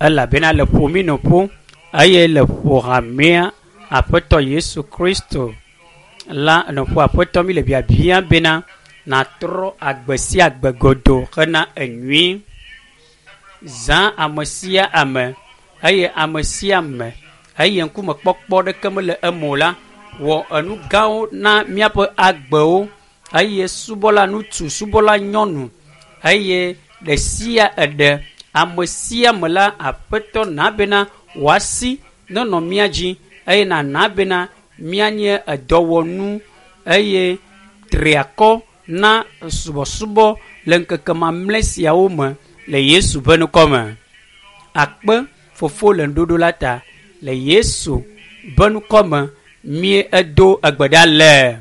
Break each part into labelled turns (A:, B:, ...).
A: Elabena le ƒo mí nɔ ƒo eye le ƒo hamea Aƒetɔ Yesu Kristo la nɔƒo Aƒetɔ mi le biabia bena nàtrɔ agbe sia agbe godoo hena enyui. Zã ame sia ame eye ame sia ame eye ŋkume kpɔkpɔ ɖeke mele eme o la wɔ enu gãwo na míaƒe agbewo eye subɔla ŋutsu, subɔla nyɔnu eye ɖe sia eɖe ame sia ame la Aƒetɔ na bena wòasi nenɔ mía dzi eye nàna bena míanye edɔwɔnu eye triakɔ na subɔsubɔ le ŋkeke mamlɛ siawo me le Yesu ƒe ŋkɔ me. Akpe fofo le ŋuɖoɖo la ta le Yesu ƒe ŋkɔ me mie edo egbe ɖa le.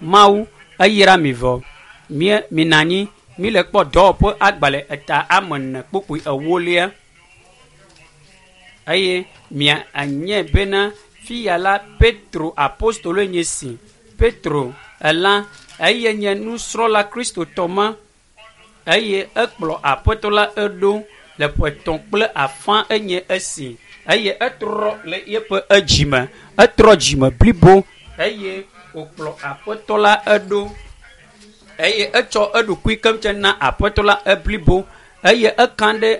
A: Mawu eyra mi vɔ. Mie mina anyi mi le kpɔ dɔwɔƒe agbalẽ eta ame ene kpukpui ewolia eye mia anye bena fiya la Petro apostoloe nye si. Petro ela eye nye nusrɔ̃la kristotɔ ma eye ekplɔ aƒetɔ la eɖo le ƒe etɔ̃ kple afã enye esi eye etrɔ le yeƒe edzime etrɔ dzime blibo eye wòkplɔ aƒetɔ la eɖo eye etsɔ eɖokui keŋ na aƒetɔ la eblibo eye eka ɖe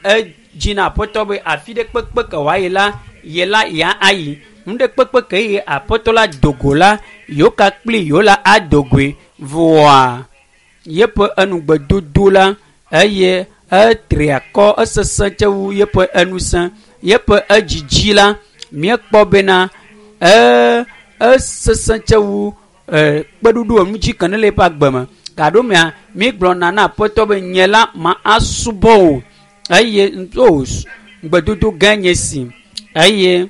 A: edzi na aƒetɔ be afi ɖe kpekpe ke wòayi la ye la ya ayi nu ɖe kpekpe ke ye aƒetɔ la dogo la yewo ka kpli yewo la adogoe vɔa yeƒe enugbedodo la eye etri akɔ esesẽ tse wu yeƒe enusẽ yeƒe edzidzi la míekpɔ bena ee esesẽ tse wu ee kpeɖuɖu enu dzi ke ne le eƒe agbe me gaɖomea mígblɔna na aƒetɔ be nye la ma asubɔ o eye o ŋugbedodo gã nye si eye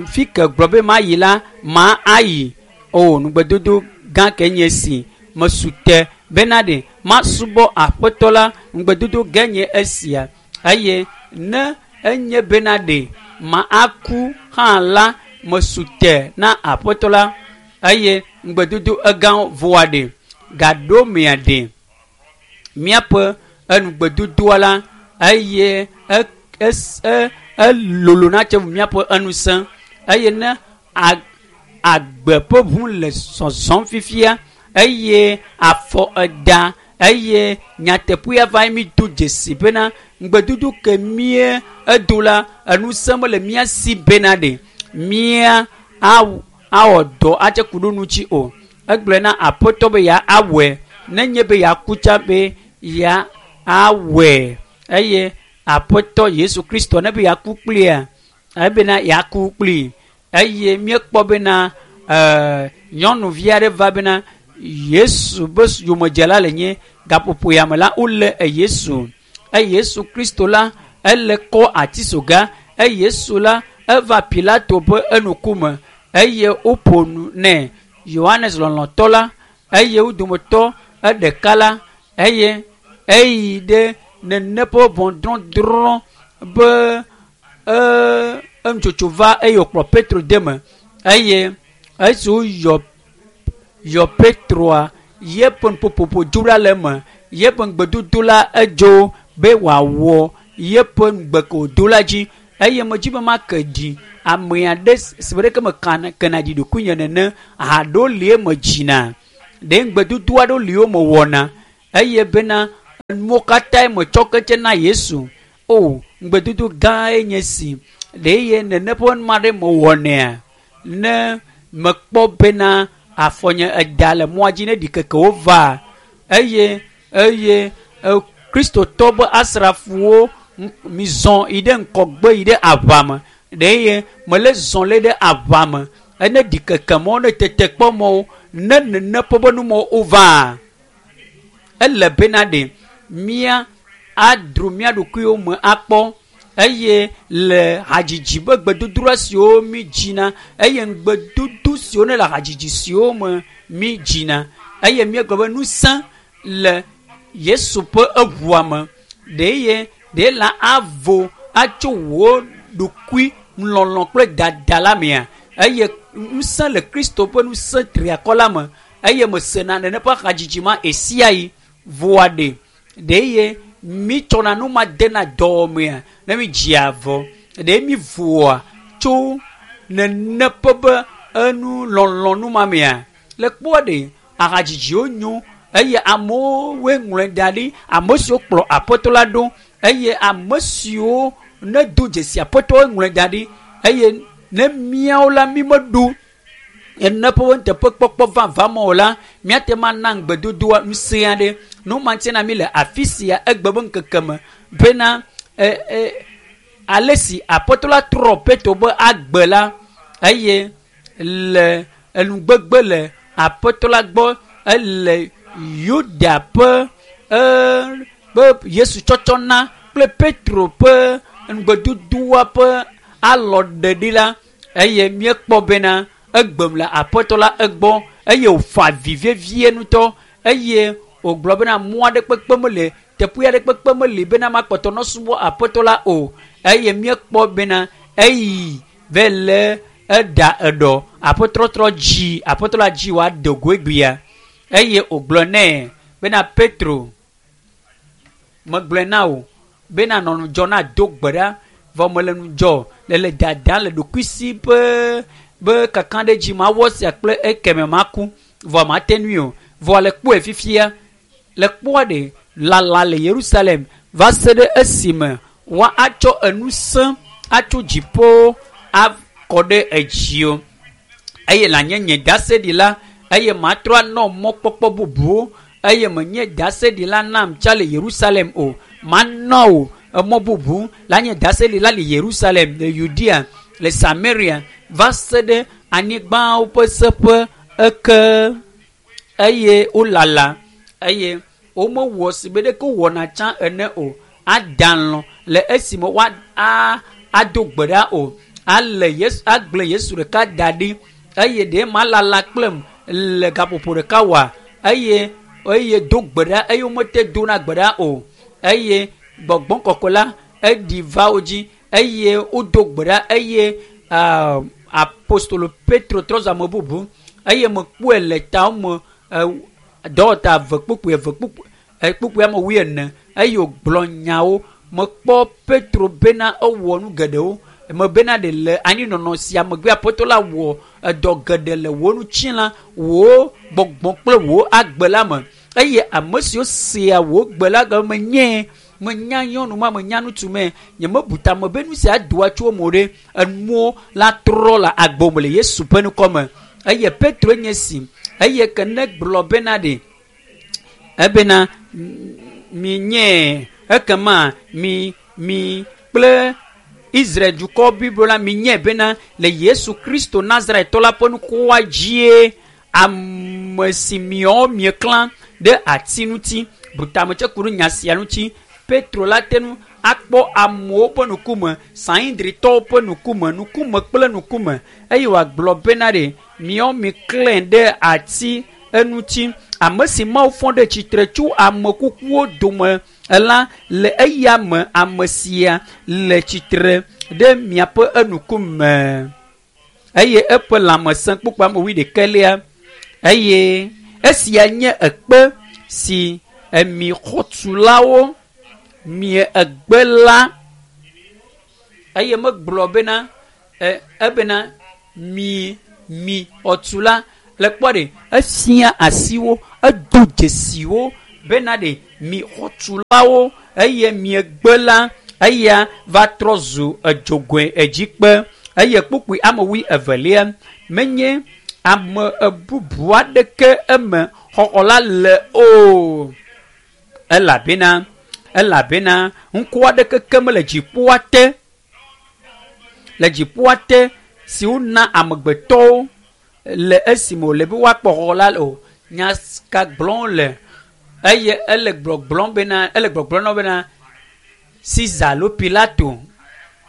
A: fi ke gblɔ be mayi la ma ayi o ŋugbedodo gã ke nye si mesu te bena ɖe masubɔ aƒetɔ la ŋugbedodo gã nye esia eye ne enye bena ɖe ma aku hã la mesu te na aƒetɔ la eye ŋugbedodo egã voa ɖe gaɖomea ɖe míaƒe enugbedodoa la eye elolo na tse míaƒe enusẽ eye ne agbe ƒe ʋu le zɔzɔm fifia eye afɔ eda eye nyateƒea va mi do dzesi bena ŋugbedodo ke mie edo la enusẽ mele mía si bena ɖe mía awɔ dɔ atse ku ɖo ŋuti o egblɔe na aƒetɔ be ya awɔe nenye be yeaku tsa be ya awɔe eye aƒetɔ Yesu Kristo ne be yeaku kplia ebena yeaku kpli eye míekpɔ bena ɛɛ nyɔnuvi aɖe va bena Yesu be yomedzela le nye gaƒoƒo ya me la wole Yesu eye Yesu Kristo la ele kɔ atisoga eye Yesu la eva Pilato ƒe enukume eye woƒo nu nɛ Yohanes lɔlɔ̃tɔ la eye wo dometɔ eɖeka la eye eyi ɖe nene ƒe ʋɔnudrɔ̃drɔ̃ be ee enutsotso va eye wòkplɔ Petro de me eye esi woyɔ yɔ Petroa yeƒe nuƒoƒoƒo dzo ɖa le eme yeƒe ŋugbedodo la edzo be wòawɔ yeƒe ŋugbe ke wòdo la dzi eye medzi be make ɖi ame aɖe si be ɖeke mekana kena ɖi ɖokuinye nene haɖewo li eme dzina ɖe ŋugbedodo aɖewo li wo mewɔna eye bena enuwo katã metsɔ ketse na Yesu o ŋugbedodo gã nye si ɖe eye nene ƒe nu aɖe mewɔnɛa ne mekpɔ bena afɔnye eda le mɔa dzi ne ɖikekewo va eye eye kristotɔ be asrafowo mizɔ yi ɖe ŋkɔgbe yi ɖe aʋa me ɖe eye mele zɔ le ɖe aʋa me ene ɖikeke mɔwo ne tetekpɔ mɔwo ne nene ƒe be numɔwo wova ele bena ɖe mía adro mía ɖokuiwo me akpɔ eye le hadzidzi be gbedodoɖa siwo mi dzina eye ŋugbedodo siwo ne le hadzidzi siwo me mi dzina eye míegblɔ be ŋusẽ le Yesu ƒe eʋua me ɖe eye ɖe la avo atso wò ɖokui lɔlɔ kple dada la mea eye ŋusẽ le Kristo ƒe ŋusẽ triakɔ la me eye mesena nene ƒe hadzidzi ma esia yi voa ɖe ɖe eye mi tsɔna nu ma dena dɔwɔmea ne mi dzia vɔ ɖe mi voa tso nene ƒe be enu lɔlɔ nu ma mea le kpɔa ɖe ahadzidziwo nyo eye amewo woe ŋlɔe da ɖi ame siwo kplɔ aƒetɔ la ɖo eye ame siwo ne do dzesi aƒetɔ woe ŋlɔe da ɖi eye ne míawo la mi meɖo ene ƒe nuteƒekpɔkpɔ vavã me o la míate ma na ŋugbedodoa ŋusẽ aɖe nu ma ŋuti na mi le afi sia egbe be ŋkeke me bena e e ale si aƒetɔ la trɔ Petro be agbe la eye le enugbegbe le aƒetɔ la gbɔ ele Yuda ƒe e be Yesu tsɔtsɔ na kple Petro ƒe ŋugbedodoa ƒe alɔ ɖeɖi la eye míekpɔ bena egbem le aƒetɔ la egbɔ eye wòfa avi vevie ŋutɔ eye wògblɔ bena mɔ aɖe kpekpe mele teƒe aɖe kpekpe meli bena makpɔtɔ nɔ subɔ aƒetɔ la o eye míekpɔ bena eyi va le eɖa eɖɔ aƒetɔ trɔ dzi aƒetɔ la dzi wòado go egbea eye wògblɔ nɛ bena Petro megblɔe na wò bena nɔ ŋudzɔ na do gbe ɖa vɔ mele ŋudzɔ le le dada le ɖokuisi ƒe be kaka ɖe dzi mawɔ sia kple ekeme maku vɔ mate nui o vɔ le kpɔe fifia le kpɔa ɖe lala le Yerusalem va se ɖe esime woa atsɔ enu sẽ atso dziƒo akɔ ɖe edzi o eye le nye nye ɖaseɖila eye matrɔ anɔ mɔkpɔkpɔ bubuwo eye menye ɖaseɖila nam tsa le Yerusalem o manɔ o emɔ bubu la nye ɖaseɖila le Yerusalem le Yudea le Samaria va se ɖe anyigbawo ƒe seƒe eke eye wolala eye womewɔ si be ɖeke wowɔna tsã ene o ada lɔ le esime woa a ado gbe ɖa o ale Yesu agblẽ Yesu ɖeka da ɖi eye ɖe malala kplem le gaƒoƒo ɖeka wɔa eye eye do gbe ɖa eye womete dona gbe ɖa o eye gbɔgbɔ kɔkɔe la eɖi va wo dzi eye wodo gbe ɖa eye apostolo Petro trɔ zu ame bubu eye mekpɔe le tawo me dɔwɔta eve kpukpui eve kpukpui kpukpui ame wuiene eye wògblɔ nyawo mekpɔ Petro bena ewɔ nu geɖewo me bena ɖe le anyinɔnɔ sia megbe aƒetɔ la wɔ edɔ geɖe le wò ŋutilã wò gbɔgbɔ kple wò agbe la me eye ame siwo sea wò gbe la gɔme nye menya nyɔnu ma menya ŋutsu me nyemebu tame be nu sia doa tso eme o ɖe enuwo la trɔ le agbo me le Yesu ƒe ŋkɔ me eye Petro nye si eye ke ne gblɔ bena ɖe ebena mi nye ekema mi mi kple Israel dukɔ blibo la mi nye bena le Yesu Kristo Nazaretɔ la ƒe ŋkɔa dzie ame si miawo mieklã ɖe ati ŋuti butametse ku ɖe nya sia ŋuti Petro la te ŋu akpɔ amewo ƒe ŋkume Sanhedritɔwo ƒe ŋkume ŋkume kple ŋkume eye wòagblɔ bena ɖe miawo miklãe ɖe ati eŋuti ame si Mawu fɔ ɖe tsitre tso ame kukuwo dome la le eya me ame sia le tsitre ɖe miaƒe eŋkume eye eƒe lãmesẽ kpukpui ame wuiɖekɛlia eye esia nye ekpe si emi xɔtulawo mie egbe la eye megblɔ bena ebena mi mi xɔtula le kpɔ ɖe efia asiwo edo dzesiwo bena ɖe mi xɔtulawo eye miegbe la eya va trɔ zu edzogoe edzikpe eye kpukpui ame wui evelia menye ame bubu aɖeke eme xɔxɔ la le o elabena elabena ŋku aɖeke ke mele dziƒoa te le dziƒoa te si wona amegbetɔwo le esime wòle be woakpɔ xɔxɔ la o nya ka gblɔm le eye ele gbɔgblɔm bena ele gbɔgblɔm na wo bena Caesar alo Pilato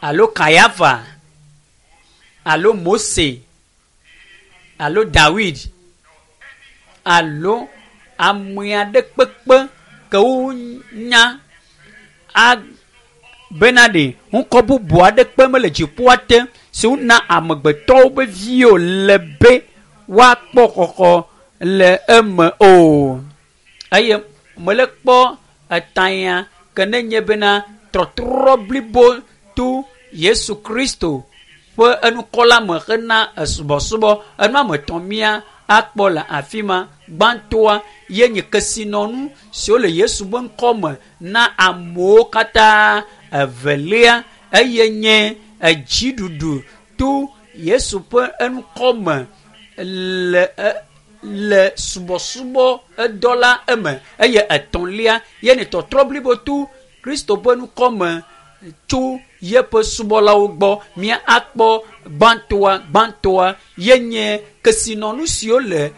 A: alo Kayafa alo Mose alo Dawid alo ame aɖe kpekpe ke wonya a bena ɖe ŋkɔ bubu aɖe kpe mele dziƒoa te si wona amegbetɔwo ƒe viwo le be woakpɔ xɔxɔ le eme o eye mele kpɔ etanya ke Ke nenye bena trɔtrɔ blibo to Yesu Kristo ƒe enukɔla me hena esubɔsubɔ. Enu ame etɔ̃ mía akpɔ le afi ma. Gbãtɔa ye nye kesinɔnu siwo le Yesu ƒe ŋkɔ me na amewo katã. Evelia eye nye edziɖuɖu to Yesu ƒe enukɔ me le le subɔsubɔ edɔ la eme eye etɔ̃lia ye nye tɔtrɔ blibo to Kristo ƒe ŋkɔ me tso yeƒe subɔlawo gbɔ. Mía akpɔ gbãtɔa gbãtɔa ye nye kesinɔnu siwo le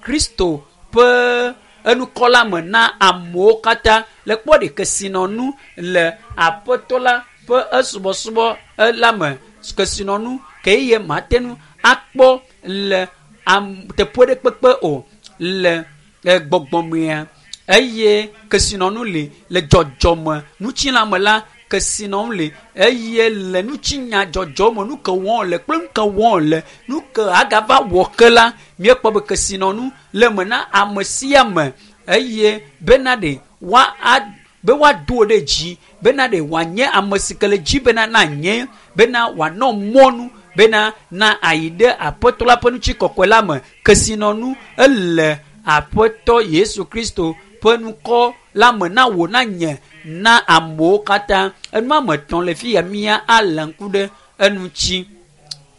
A: Kristo ƒe enukɔ la me na amewo katã. Le kpɔ ɖe kesinɔnu le aƒetɔ la ƒe esubɔsubɔ la me. Kesinɔnu ke ye mate ŋu akpɔ le am teƒe ɖe kpekpe o le gbɔgbɔmea eye kesinɔnu li le dzɔdzɔme ŋutilãme la kesinɔnu li eye le ŋutinya dzɔdzɔme nu ke wɔm le kple nu ke wɔm le nu ke agava wɔ ke la míekpɔ be kesinɔnu le eme na ame sia ame eye bena ɖe woa a be woado ɖe dzi bena ɖe wòanye ame si ke le dzi bena na nye bena wòanɔ mɔnu bena na ayi ɖe aƒetɔ la ƒe ŋutikɔkɔe la me. Kesinɔnu ele aƒetɔ Yesu Kristo ƒe ŋkɔ la me na wò na nye na amewo katã. Enu ame etɔ̃ le fi ya mía alé ŋku ɖe eŋuti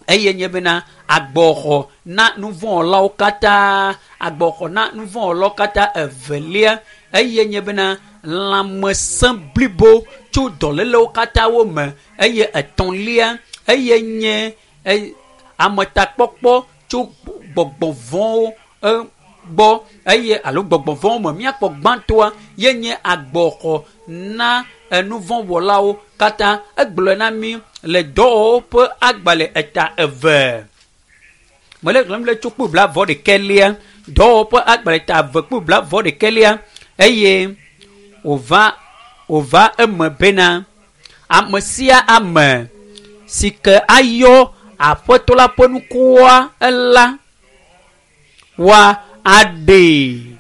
A: eye nye bena agbɔxɔ na nuvɔ̃wɔlawo katã agbɔxɔ na nuvɔ̃wɔlawo katã. Evelia eye nye bena lãmesẽ blibo tso dɔlélewo katã wo me eye etɔ̃lia eye nye ametakpɔkpɔ tso gbɔgbɔ vɔ̃wo gbɔ eye alo gbɔgbɔ vɔ̃wo me. Míakpɔ gbãtɔa ye nye agbɔxɔ na enuvɔ̃wɔlawo katã. Egblɔe na mí le dɔwɔwɔwo ƒe agbalẽ eta eve. Mele xlẽm le tso kpukpui blaeve-vɔ-ɖekɛlia. Dɔwɔwɔwo ƒe agbalẽ eta eve kpukpui blaeve-vɔ-ɖekɛlia eye wòva wòva eme bena ame sia ame si ke ayɔ aƒetɔ la ƒe ŋkɔa la woa aɖee.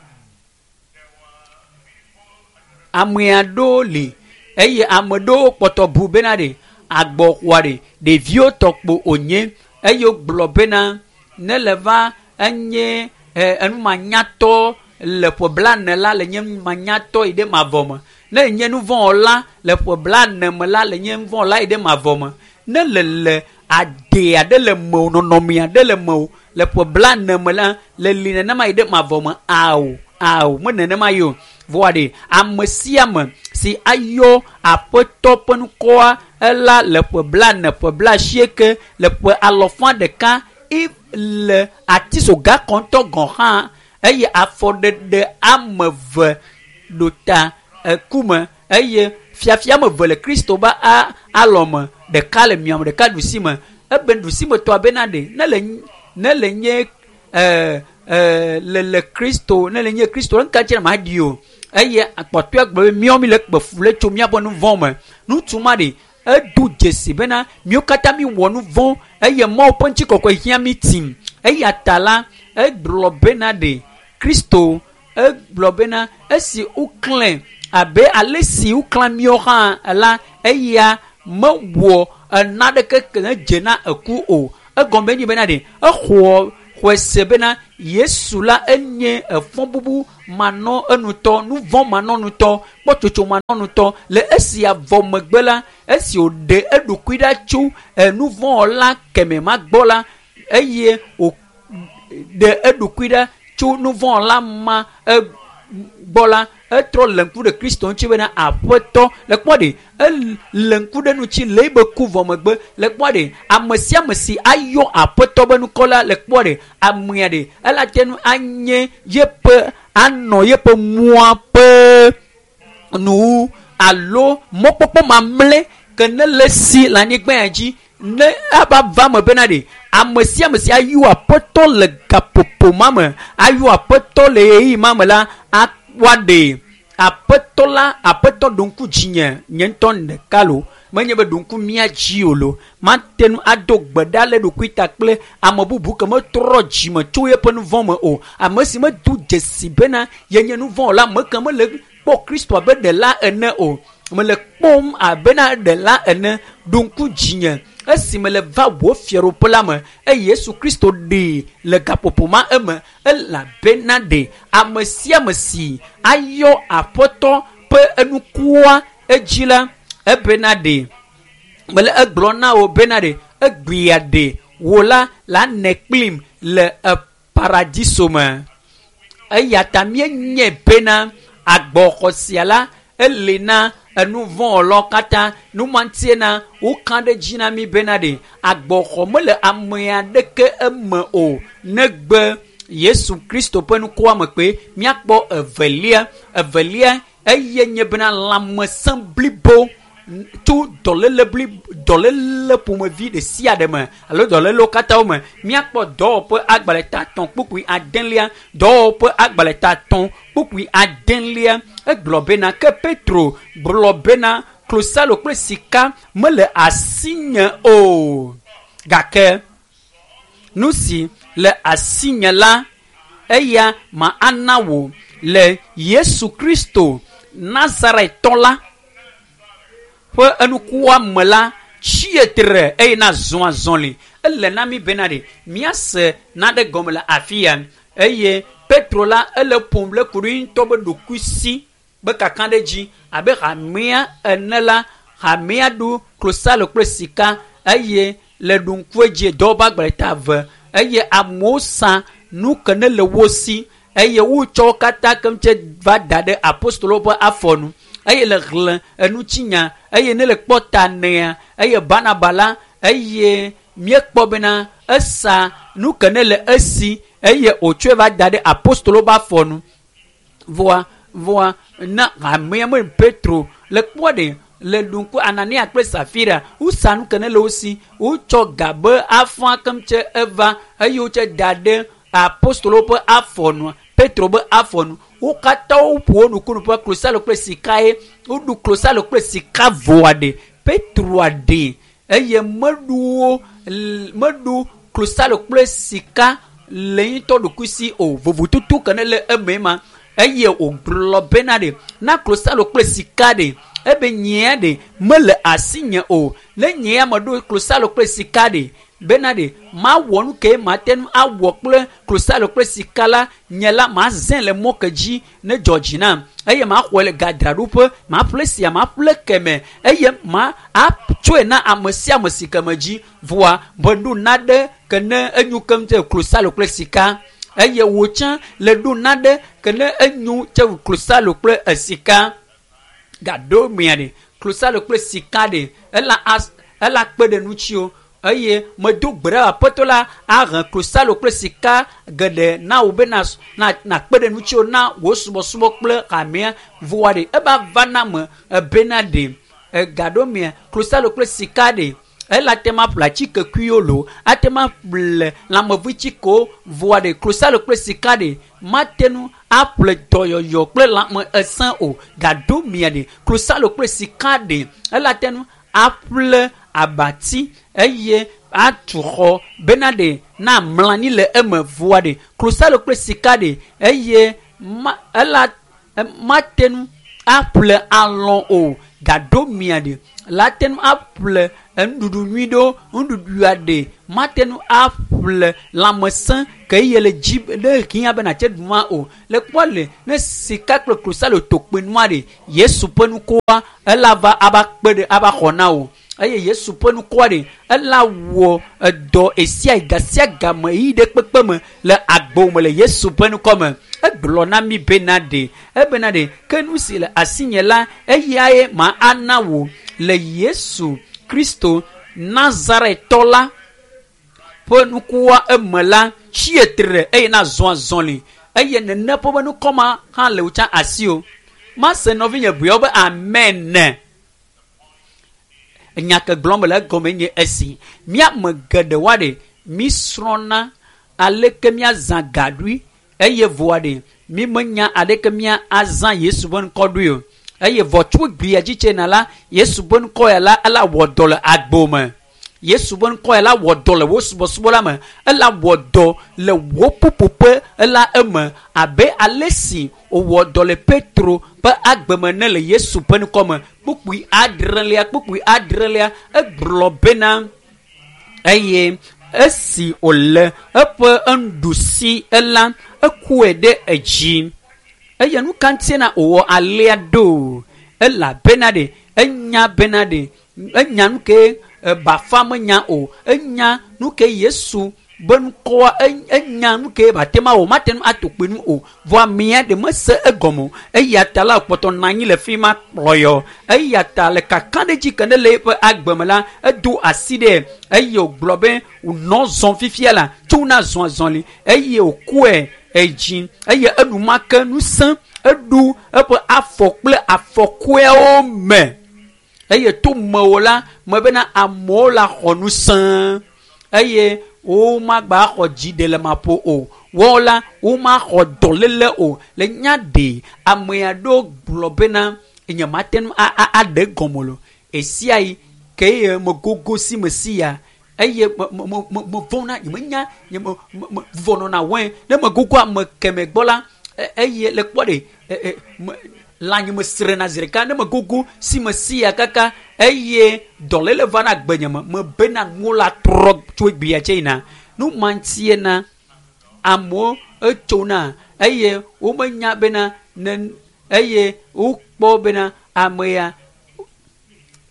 A: Ame aɖewo li eye ame ɖewo kpɔtɔ bu bena ɖe agbɔxɔa ɖe ɖeviwo tɔ kpo wònye eye wogblɔ bena ne le va enye enumanyatɔ le ƒe blaene la le nye numanyatɔ yi ɖe mavɔ me. Ne enye nuvɔ̃wɔla le ƒe blaene me la le nye nuvɔ̃wɔla yi ɖe mavɔ me. Ne le le ade aɖe le mewò nɔnɔme aɖe le mewò le ƒe blaene me la le li nenema yi ɖe mavɔ me ao ao me nenema yi o. Vɔa ɖe ame sia ame si ayɔ aƒetɔ ƒe ŋkɔa ela le ƒe blaene ƒe blaasieke le ƒe alɔfa ɖeka le atisoga kɔntɔ gɔ̃ hã eye afɔɖeɖe ame eve ɖo ta eku me eye fiafia ame eve le Kristo be alɔme ɖeka le miame ɖeka ɖusi me. Ebe ɖusimetɔa bena ɖe ne le ne le nye le le Kristo ne le nye Kristo ŋka dzi ma ɖi o eye kpɔtɔe gblɔ be míawo mi le kpe fu le tso míaƒe nu vɔ̃ me. Ŋutsu ma ɖe edo dzesi bena míawo katã mi wɔ nu vɔ̃ eye Mawu ƒe ŋutikɔkɔe hiã mi tim. Eya ta la egblɔ bena ɖe Kristo egblɔ bena esi woklẽ abe ale si woklã míawo hã la eya mewɔ naɖeke ke ne dze na eku o. Egɔme nye bena ɖe exɔ xɔe se bena Yesu la enye efɔ bubu manɔ enutɔ nuvɔ̃ manɔ nutɔ kpɔtsotso manɔ nutɔ le esia vɔ megbe la esi wòɖe eɖokui ɖa tso enuvɔ̃wɔla kɛmɛ ma gbɔ la eye wòɖe eɖokui ɖa tso nuvɔ̃wɔla ma gbɔ la etrɔ le ŋku ɖe Kristo ŋuti bena aƒetɔ le kpɔ ɖe ele ŋku ɖe ŋuti le ebe ku vɔ megbe le kpɔ ɖe ame sia ame si ayɔ aƒetɔ be ŋkɔ la le kpɔ ɖe amea ɖe ela te ŋu anye yeƒe anɔ yeƒe mɔa ƒe nuwu alo mɔkpɔkpɔ mamlɛ ke ne le si le anyigba ya dzi ne ava va me bena ɖe ame sia ame si ayɔ aƒetɔ le gaƒoƒo ma me ayɔ aƒetɔ le ɣeyiɣi ma me la woaɖe aƒetɔ la aƒetɔ ɖo ŋku dzinye nye ŋutɔ ɖeka lo menye be ɖo ŋku mía dzi o lo mate ŋu ado gbe ɖa le ɖokui ta kple ame bubu ke metrɔ dzime tso yeƒe nu vɔ̃ me o. Ame si medo dzesi bena yenye nu vɔ̃ o la ame ke mele kpɔ Kristo abe ɖela ene o. Mele kpɔm abena ɖela ene. Ɖo ŋku dzinye esi mele va wò fiaɖuƒe la me eye Yesu Kristo ɖee le gaƒoƒo ma eme elabena ɖe ame sia ame si ayɔ Aƒetɔ ƒe enukua edzi la ebena ɖe mele egblɔ na wò bena ɖe egbea ɖe wò la la ne kplim le paradiso me. Eya ta míenye bena agbɔxɔ sia la ele na enuvɔwɔlawo katã. Numantie na woka ɖe dzi na mí bena ɖe agbɔxɔ mele ame aɖeke eme o negbe Yesu Kristo ƒe nukua me kpe. Míakpɔ evelia. Evelia eye nye bena lãmesẽ blibo tso dɔléle bli dɔléle ƒomevi ɖe sia ɖe me alo dɔlélewo katã wo me. Míakpɔ dɔwɔƒe agbalẽ ta etɔ̃ kpukpui adelia. Dɔwɔƒe agbalẽ ta etɔ̃ kpukpui adelia. Egblɔ bena ke Petro gblɔ bena klosalo kple sika mele asinye o, gake nu si le asinye la eya ma ana wò le Yesu Kristo Nazaretɔ la ƒe enukua me la tsie tre eye na zɔ azɔli. Ele na mí bena ɖe míase naɖe gɔme le afi ya eye Petro la ele ƒom le ku ɖe ŋutɔ be ɖokuisi be kaka ɖe dzi abe hamea ene la hamea ɖu klosalo kple sika eye le ɖu ŋku edzi dɔwɔƒe agbalẽ ta eve eye amewo sa nu ke ne le wo si eye wotsɔ wo katã keŋ tse va da ɖe apostolowo ƒe afɔ nu eye le xlẽ enutsinya eye ne le kpɔ ta nea eye Barnaba la eye míekpɔ bena esa nu ke ne le esi eye wòtsɔe va da ɖe apostolowo ƒe afɔ nu. Vɔa vɔa na hamea me Petro le kpɔ ɖe le ɖu ŋku Anania kple Safira wosa nu ke ne le wo si wotsɔ ga be afã keŋ tse eva eye wotse da ɖe apostolowo ƒe afɔ nu Petro be afɔ nu. Wo katã woƒo wo nukunu ƒe klosalo kple sika ye woɖu klosalo kple sika vɔa ɖe Petroa ɖe eye meɖu wo meɖu klosalo kple sika le ŋutɔ ɖokuisi o. Vovototo ke ne le eme ma eye wògblɔ bena ɖe na klosalo kple sika ɖe ebe nyea ɖe mele asinye o. Ne nyea meɖo klosalo kple sika ɖe bena ɖe mawɔ nu ke mate ŋu awɔ kple klosalo kple sika la nye la mazẽ le mɔ ke dzi ne dzɔ dzi nam eye maxɔe le gadraɖoƒe maƒle sia maƒle keme eye ma atsɔe na ame sia ame si ke me dzi vɔa meɖo naɖe ke ne enyo keŋ tse klosalo kple sika eye wò tsã le ɖo naɖe ke ne enyo tse klosalo kple esika gaɖo mea ɖe klosalo kple sika ɖe ela as ela kpe ɖe ŋutsiwo eye medo gbe ɖe aƒetɔ la ahe klosalo kple sika geɖe na wò be na na nakpe ɖe ŋutsiwo na wò subɔsubɔ kple hamea vɔa ɖe eva va na me ebena ɖe egaɖo mea klosalo kple sika ɖe ela te ma ƒle atikekuiwo loo ate ma ƒle lãmevitsikewo vɔa ɖe klosalo kple sika ɖe mate ŋu aƒle dɔyɔyɔ kple lãme esẽ o gaɖo mia ɖe klosalo kple sika ɖe ela te ŋu aƒle abati eye atu xɔ bena ɖe na mlɔ anyi le eme vɔa ɖe klosalo kple sika ɖe eye ma ela mate ŋu aƒle alɔ o gaɖo mia ɖe la te ŋu aƒle enuɖuɖu nyui ɖewo nuɖuɖua ɖe mate ŋu aƒle lãmesẽ ke eye le dzi ne hiã be nàtse ɖu ma o le kpɔ le ne sika kple klosalo tokpe nua ɖe Yesu ƒe nukua ela va ava kpe ɖe ava xɔ na wò eye Yesu ƒe nukua ɖe ela wɔ edɔ esia ga sia game yi ɖe kpekpe me le agbo me le Yesu ƒe nukɔ me. Egblɔ na mí bena ɖe ebena ɖe ke nu si le asinye la eyae ma ana wò le Yesu Kristo Nazaretɔ la ƒe nukua eme la tsie tre eye na zɔ azɔli eye nene ƒe be nukɔ ma hã le wò tsã asi o. Mase nɔvinye ʋeawo be amen. Nya ke gblɔm mele egɔme nye esi míame geɖe wa ɖe mí srɔ̃na aleke míazã gaɖui eye vɔa ɖe mí menya aleke mía azã Yesu ƒe ŋkɔ ɖui o eye vɔ tso gbea dzi tsena la Yesu ƒe ŋkɔ ya la ela wɔ dɔ le agbo me. Yesu ƒe ŋkɔ la wɔ dɔ le wò subɔsubɔ la me. Ela wɔ dɔ le wò ƒuƒoƒe la eme abe ale si wòwɔ dɔ le Petro ƒe agbe me ne le Yesu ƒe ŋkɔ me. Kpukpui adrelia egblɔ bena eye esi wòle eƒe nuɖusi la ekɔe ɖe edzi. Eye nu ka ŋutie na wòwɔ alea ɖo? Elabena ɖe enya bena ɖe enya nu ke bafa menya o. Enya nu ke Yesu be ŋkɔa enya nu ke bate ma wɔ mate ŋu ato kpe nu o. Vɔ amea ɖe mese egɔme o. Eya ta la kpɔtɔ nɔ anyi le fi ma kplɔyɔ. Eya ta le kakaɖedzi ke ne le eƒe agbe me la edo asi ɖe eye wògblɔ be wònɔ zɔm fifia la tso na zɔn azɔli eye wòkɔe edzi eye enumake ŋusẽ eɖu eƒe afɔ kple afɔkɔeawo me. Eye to mewo la me bena amewo la xɔ ŋusẽ eye womagba xɔ dziɖelemaƒo o. Woawo la womaxɔ dɔléle o. Le nya ɖe ame aɖewo gblɔ bena nye mate ŋu aɖe gɔme o. Esia yi ke ye megogo si me si ya eye mevɔ̃na nye menya nye vuvɔ nɔna wɔe ne megogo ame keme gbɔ la eye le kpɔ ɖe lãnyi me srena zi ɖeka ne megogo si me si ya kaka eye dɔléle va na gbenye me mebena nuwo la trɔ tso egbea tse yina. Nu ma ŋutie na amewo etsona eye womenya bena ne eye wokpɔ bena ame ya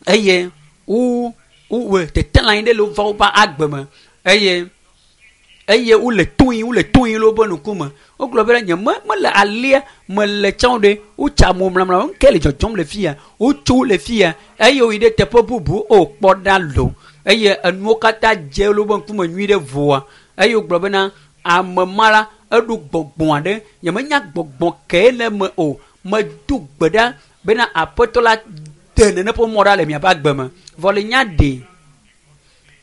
A: eye wo wowɔ tetelã ɖe le wova woƒe agbe me eye wole toyi le woƒe ŋkume. Wogblɔ bena nye mele alea mele tsã ɖe wotsa mo mlamla ŋke le dzɔdzɔm le fia wotso le fia eye woyi ɖe teƒe bubu o kpɔ ɖa lo eye enuwo katã dze le woƒe ŋkume nyui ɖe voa eye wogblɔ bena ame ma la eɖo gbɔgbɔ aɖe nye menya gbɔgbɔ ke le eme o. Medo gbe ɖa bena aƒetɔ la de nene ƒe mɔ ɖa le miaƒe agbe me. Vɔ le nya ɖe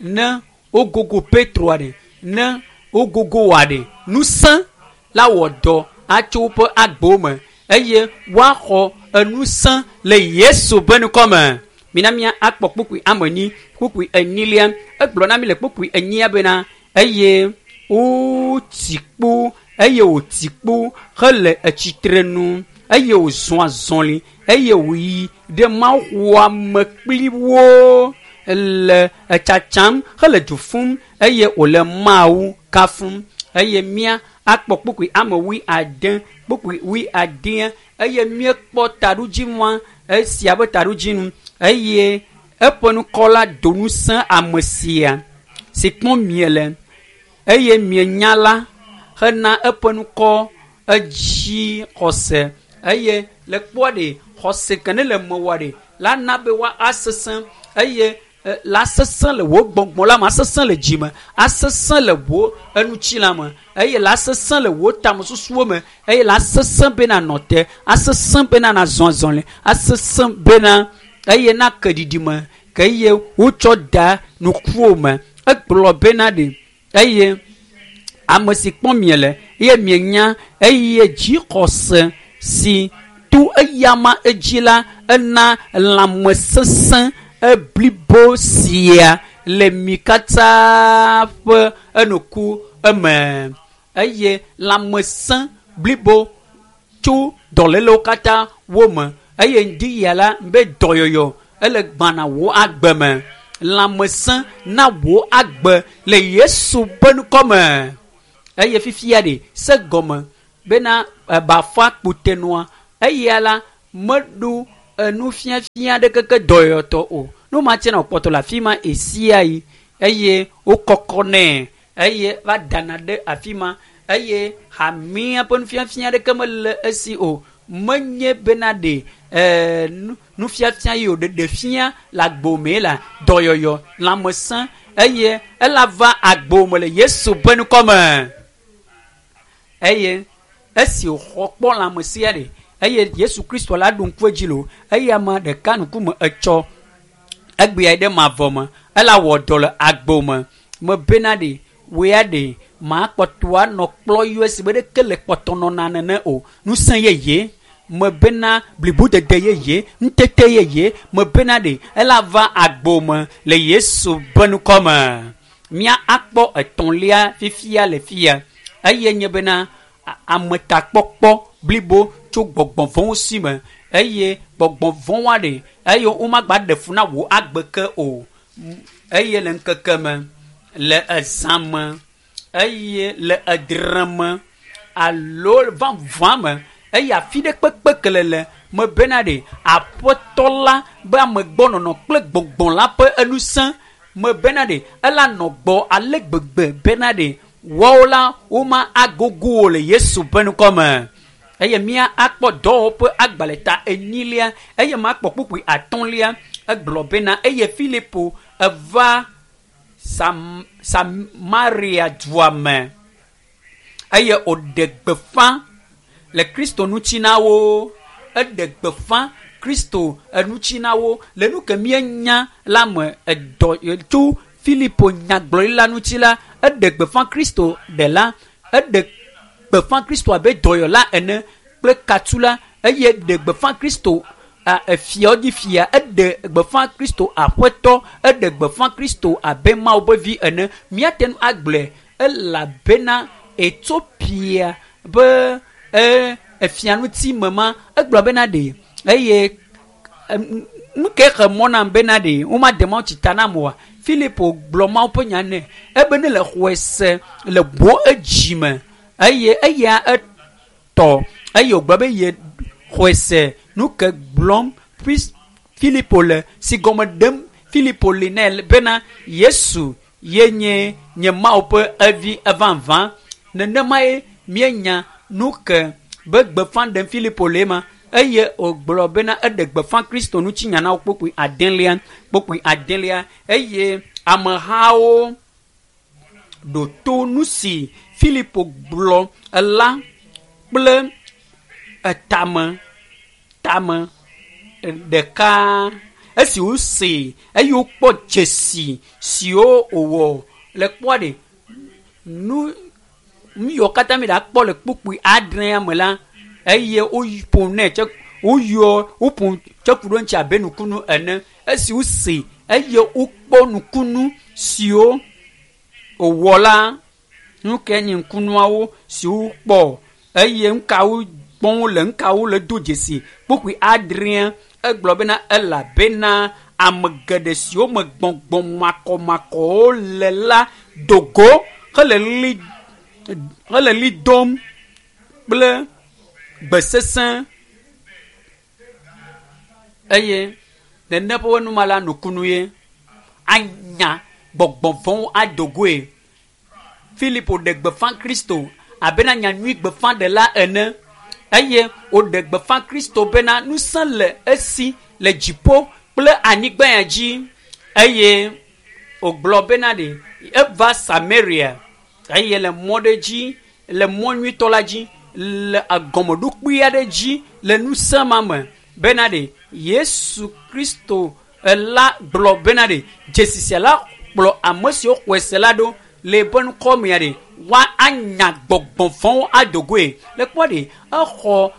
A: ne wogogo Petro aɖe ne wogogo wɔ aɖe ŋusẽ la wɔ dɔ atso woƒe agbewo me eye woaxɔ enusẽ le Yesu ƒe ŋkɔ me. Mina mía akpɔ kpukpui ame enyi kpukpui enyilia egblɔ na mi le kpukpui enyia bena eye wotsi kpo eye wòtsi kpo hele etsitre nu eye wòzɔ azɔli eye wòyi ɖe mawuxɔa me kpli wo le etsatsam hele du fum eye wòle Mawu kafum. Eye mía akpɔ kpukpui ame 70 kpukpui 70 eye míekpɔ taɖodzinua esia ƒe taɖodzinu eye eƒe ŋkɔ la do ŋusẽ ame sia si kpɔm miele eye mienya la hena eƒe ŋkɔ edzi xɔse eye le kpɔa ɖe xɔse ke ne le mewɔ ɖe la na be wa asesẽ eye la sesẽ le wò gbɔgbɔ la me asesẽ le dzi me asesẽ le wò enutsila me eye la sesẽ le wò tamesusuwo me eye la sesẽ bena nɔ te asesẽ bena nazɔ azɔli asesẽ bena eye na ke ɖiɖi me ke eye wotsɔ da nukuwo me. Egblɔ bena ɖe eye ame si kpɔm miele eye mienya eye dzixɔse si to eyama edzi la ena lãmesesẽ eblibo sia le mi katã ƒe enuku eme eye lãmesẽ blibo tso dɔlélewo katã wo me eye ŋdi ya la be dɔyɔyɔ ele gbana wò agbe me. Lãmesẽ na wò agbe le Yesu ƒe ŋkɔ me. Eye fifia ɖe se gɔme bena bafa kpotenua eya la meɖo enufiafia ɖe keke dɔyɔyɔtɔ o. Nu ma tse na wòkpɔtɔ le afi ma esia yi eye wokɔkɔ nɛ eye va dana ɖe afi ma eye hamea ƒe nufiafia ɖeke mele esi o. Menye bena ɖe nufiafia yi wòɖeɖe fia le agbome la dɔyɔyɔ lãmesẽ eye ela va agbome le Yesu ƒe ŋkɔ me. Eye esi wòxɔ kpɔ lãmesẽa ɖe eye Yesu Kristo la ɖo ŋku edzi lo eye ame ɖeka ŋkume etsɔ egbea ɖe mavɔ me ela wɔ dɔ le agbome mebena ɖe woya ɖe makpɔtɔ anɔ kplɔ yɔ esi be ɖeke le kpɔtɔ nɔna nene o. Ŋusẽ yeye Mebena blibodede yeye, ŋutete yeye, mebena ɖe ela va agbo me le Yesu ƒe ŋkɔ me. Mía akpɔ etɔ̃lia fifia le fia eye nye bena ametakpɔkpɔ blibo tso gbɔgbɔ vɔ̃wo si me eye gbɔgbɔ vɔ̃woa ɖe eye womagba ɖe fu na wò agbe ke o. Eye le ŋkeke me, le ezã me, eye le edre me alo vavã me eye afi ɖe kpekpe kelele mebena ɖe aƒetɔ la be amegbɔnɔnɔ kple gbɔgbɔ la ƒe enusẽ mebena ɖe ela nɔ gbɔ ale gbegbe bena ɖe woawo la woma agogo wo le Yesu ƒe ŋkɔ me. Eye mía akpɔ dɔwɔwɔ ƒe agbalẽ ta enyilia eye makpɔ kpukpui atɔ̃lia egblɔ bena eye Filipo eva Samaria dua me eye wòɖe gbeƒã le Kristo ŋuti na wo. Eɖe gbeƒã Kristo ŋuti na wo le nu ke míenya la me edɔ tso Filipo nyagblɔɖila ŋuti la eɖe gbeƒã Kristo ɖela, eɖe gbeƒã Kristo abe dɔyɔla ene kple katula eye eɖe gbeƒã Kristo efiawo dzi fia, eɖe gbeƒã Kristo aƒetɔ, eɖe gbeƒã Kristo abe Mawu ƒe vi ene. Míate ŋu agblɔe elabena Etiopia be efia ŋuti me ma egblɔ bena ɖe eye nu ke xe mɔ nam bena ɖe womade mawutsi ta nam oa? Filipo gblɔ Mawu ƒe nya nɛ ebe ne le xɔe se le bo edzi me eye eya etɔ eye wògblɔ be ye xɔe se nu ke gblɔm Filipo le si gɔme ɖem Filipo li nɛ bena Yesu ye nye nye Mawu ƒe evi evavã. Nenemae míenya nu ke be gbeƒã ɖem Filipo le ema eye wògblɔ bena eɖe gbeƒã Kristo ŋuti nya na wo kpukpui adelia eye amehawo ɖo to nu si Filipo gblɔ la kple etame tame ɖeka. Esi wosee eye wokpɔ dzesi siwo wòwɔ le kpɔa ɖe nu yiwo katã mi ɖakpɔ le kpukpui adrea me la eye woƒo nɛ tse woyɔ woƒo tse ku ɖe eŋuti abe nukunu ene. Esi wosee eye wokpɔ nukunu siwo wòwɔ la, nu ke nye ŋkunuawo siwo wokpɔ eye nukawo kpɔm wole, nukawo le do dzesi. Kpukpui adrea egblɔ bena elabena ame geɖe siwo me gbɔgbɔ makɔmakɔwo le la do go hele ɣli dom kple gbe sesẽ eye nene ƒe numa la nukunu ye anya gbɔgbɔ vɔ̃wo ado goe. Filipo ɖe gbeƒã Kristo abena nyanyui gbeƒãɖela ene eye wòɖe gbeƒã Kristo bena ŋusẽ le esi le dziƒo kple anyigba ya dzi eye wògblɔ bena ɖe eva Samaria eye le mɔ ɖe dzi le mɔ nyuitɔ la dzi le agɔmeɖokpui aɖe dzi le ŋusẽ ma me bena ɖe Yesu Kristo la gblɔ bena ɖe dzesi sia la kplɔ ame siwo xɔe se la ɖo le eƒe ŋkɔ mea ɖe woa anya gbɔgbɔ vɔ̃wo ado goe. Le kpɔ ɖe exɔ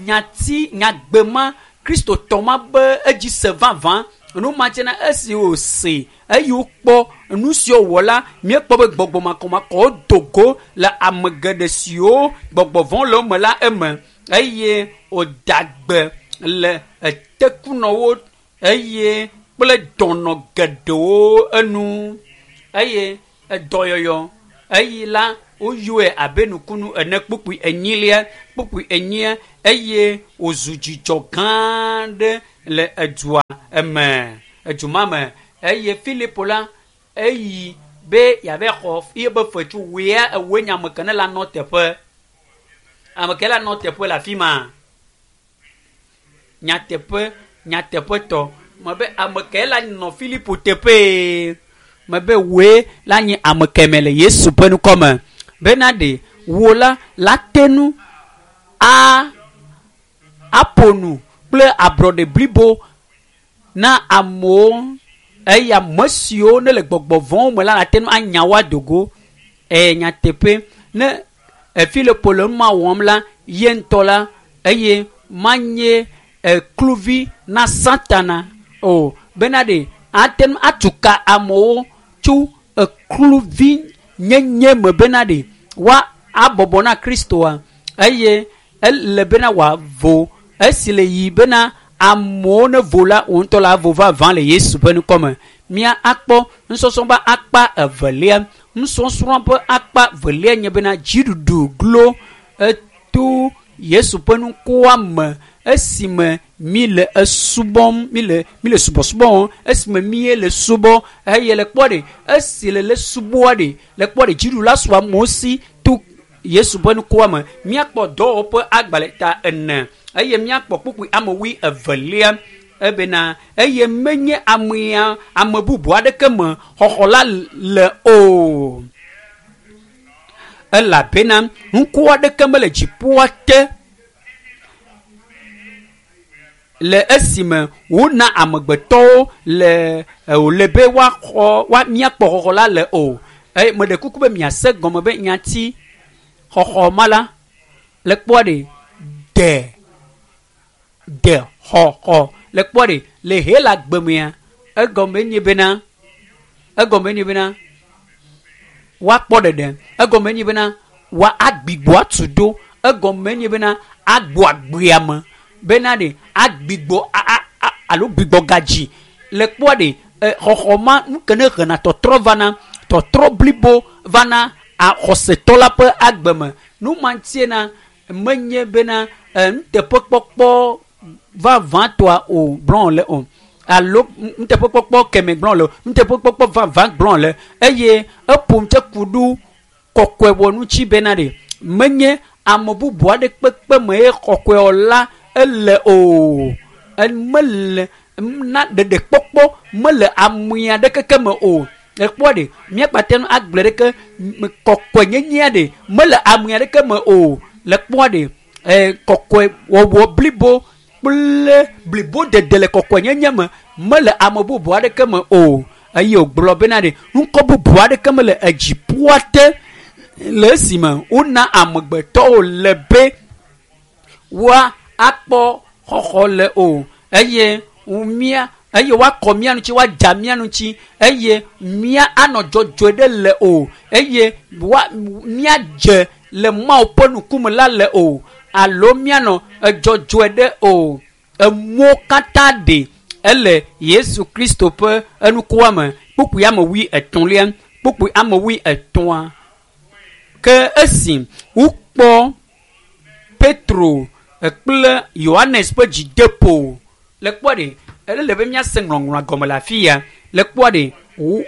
A: nyati nyagbe ma Kristotɔ ma be edzi se vavã. Nu ma tsena esi wòse eye wokpɔ nu siwo wòwɔ la, míekpɔ be gbɔgbɔ makɔmakɔwo do go le ame geɖe siwo gbɔgbɔ vɔ̃ le wo me la eme eye wòda gbe le etekunɔwo eye kple dɔnɔ geɖewo enu eye edɔyɔyɔ eyi la woyɔe abe nukunu ene kpukpui enyilia kpukpui enyia eye wòzu dzidzɔ gã aɖe le edua eme eduma me eye Filipo la eyi be yeave xɔ yebe fetsu wòya ewoe nye ame ke ne la nɔ teƒe ame ke la nɔ teƒe le afi ma nyateƒe nyateƒetɔ mebe ame ke la nɔ Filipo teƒee mebe woe la nye ame keme le Yesu ƒe ŋkɔ me bena ɖe wo la la te nu a aƒo nu kple ablɔɖe blibo na amewo eye ame siwo ne le gbɔgbɔ vɔ̃wo me la la te nu anya wo ado go. Nyateƒe ne Filipo le nu ma wɔm la ye ŋutɔ la eye manye kluvi na Satana o bena ɖe ate ŋu atu ka amewo tso kluvi nyenye me bena ɖe woa abɔbɔ na Kristoa eye ele bena wòavo esi le yi bena amewo ne vo la wo ŋutɔ la vo vavã le Yesu ƒe ŋkɔ me. Mía akpɔ nusɔsrɔ̃ ƒe akpa evelia. Nusɔsrɔ̃ ƒe akpa velia nye bena dziɖuɖu glo eto Yesu ƒe ŋkɔa me esime mi le esubɔm mi le subɔsubɔ wɔm esime mi le subɔ eye le kpɔ ɖe esi le subɔa ɖe le kpɔ ɖe dziɖula su amewo si to Yesu ƒe ŋkɔa me. Míakpɔ dɔwɔƒe agbalẽ ta 4 eye míakpɔ kpukpui ame 22 ebena eye menye amea ame bubu aɖeke me xɔxɔ la le o elabena ŋku aɖeke mele dziƒoa te le esime wona amegbetɔwo le wòle be woaxɔ míakpɔ xɔxɔ la le o. Eye meɖe kuku be miase gɔme be nyati xɔxɔ ma la le kpɔa ɖe de xɔxɔ le kpɔa ɖe le Hela gbemea egɔme nye bena woakpɔ ɖeɖe, egɔme nye bena woa agbigbɔ atu ɖo, egɔme nye bena agbɔ agbea me bena ɖe agbigbɔ alo gbigbɔ gadzi le kpɔa ɖe xɔxɔ ma nu ke ne hena tɔtrɔ vana tɔtrɔ blibo vana xɔsetɔ la ƒe agbe me. Nu ma ŋutie na menye bena nuteƒekpɔkpɔ vavãtɔa o gblɔ le o alo nuteƒekpɔkpɔ keme gblɔ le o, nuteƒekpɔkpɔ vavã gblɔ le eye eƒo ŋutse ku ɖo kɔkɔe wɔ ŋuti bena ɖe menye ame bubu aɖe kpekpe me ye kɔkɔe la ele o. Mele na ɖeɖekpɔkpɔ mele amea ɖe keke me o. Ekpɔ ɖe míakpate nu agblɔ ɖeke kɔkɔe nyenyea ɖe mele amea ɖeke me o. Le kpɔ ɖe kɔkɔe wɔwɔ blibo kple blibo dede le kɔkɔe nyenye me mele ame bubu aɖeke me o. Eye wògblɔ bena ɖe ŋkɔ bubu aɖeke mele edziƒoa te le esime wona amegbetɔwo le be woa akpɔ xɔxɔ le o. Eye mía eye woakɔ mía ŋuti, woadza mía ŋuti eye mía anɔ dzɔdzɔe ɖe le o. Eye míadze le Mawu ƒe ŋkume la le o alo míanɔ dzɔdzɔe ɖe o. Emɔwo katã ɖe ele Yesu Kristo ƒe enukua me. Kpukpui ame 33, kpukpui ame 33. Ke esi wokpɔ Petro kple Yohanes ƒe dzideƒo le kpɔ ɖe ele be míase ŋɔŋlɔa gɔme le afi ya. Le kpɔ ɖe wo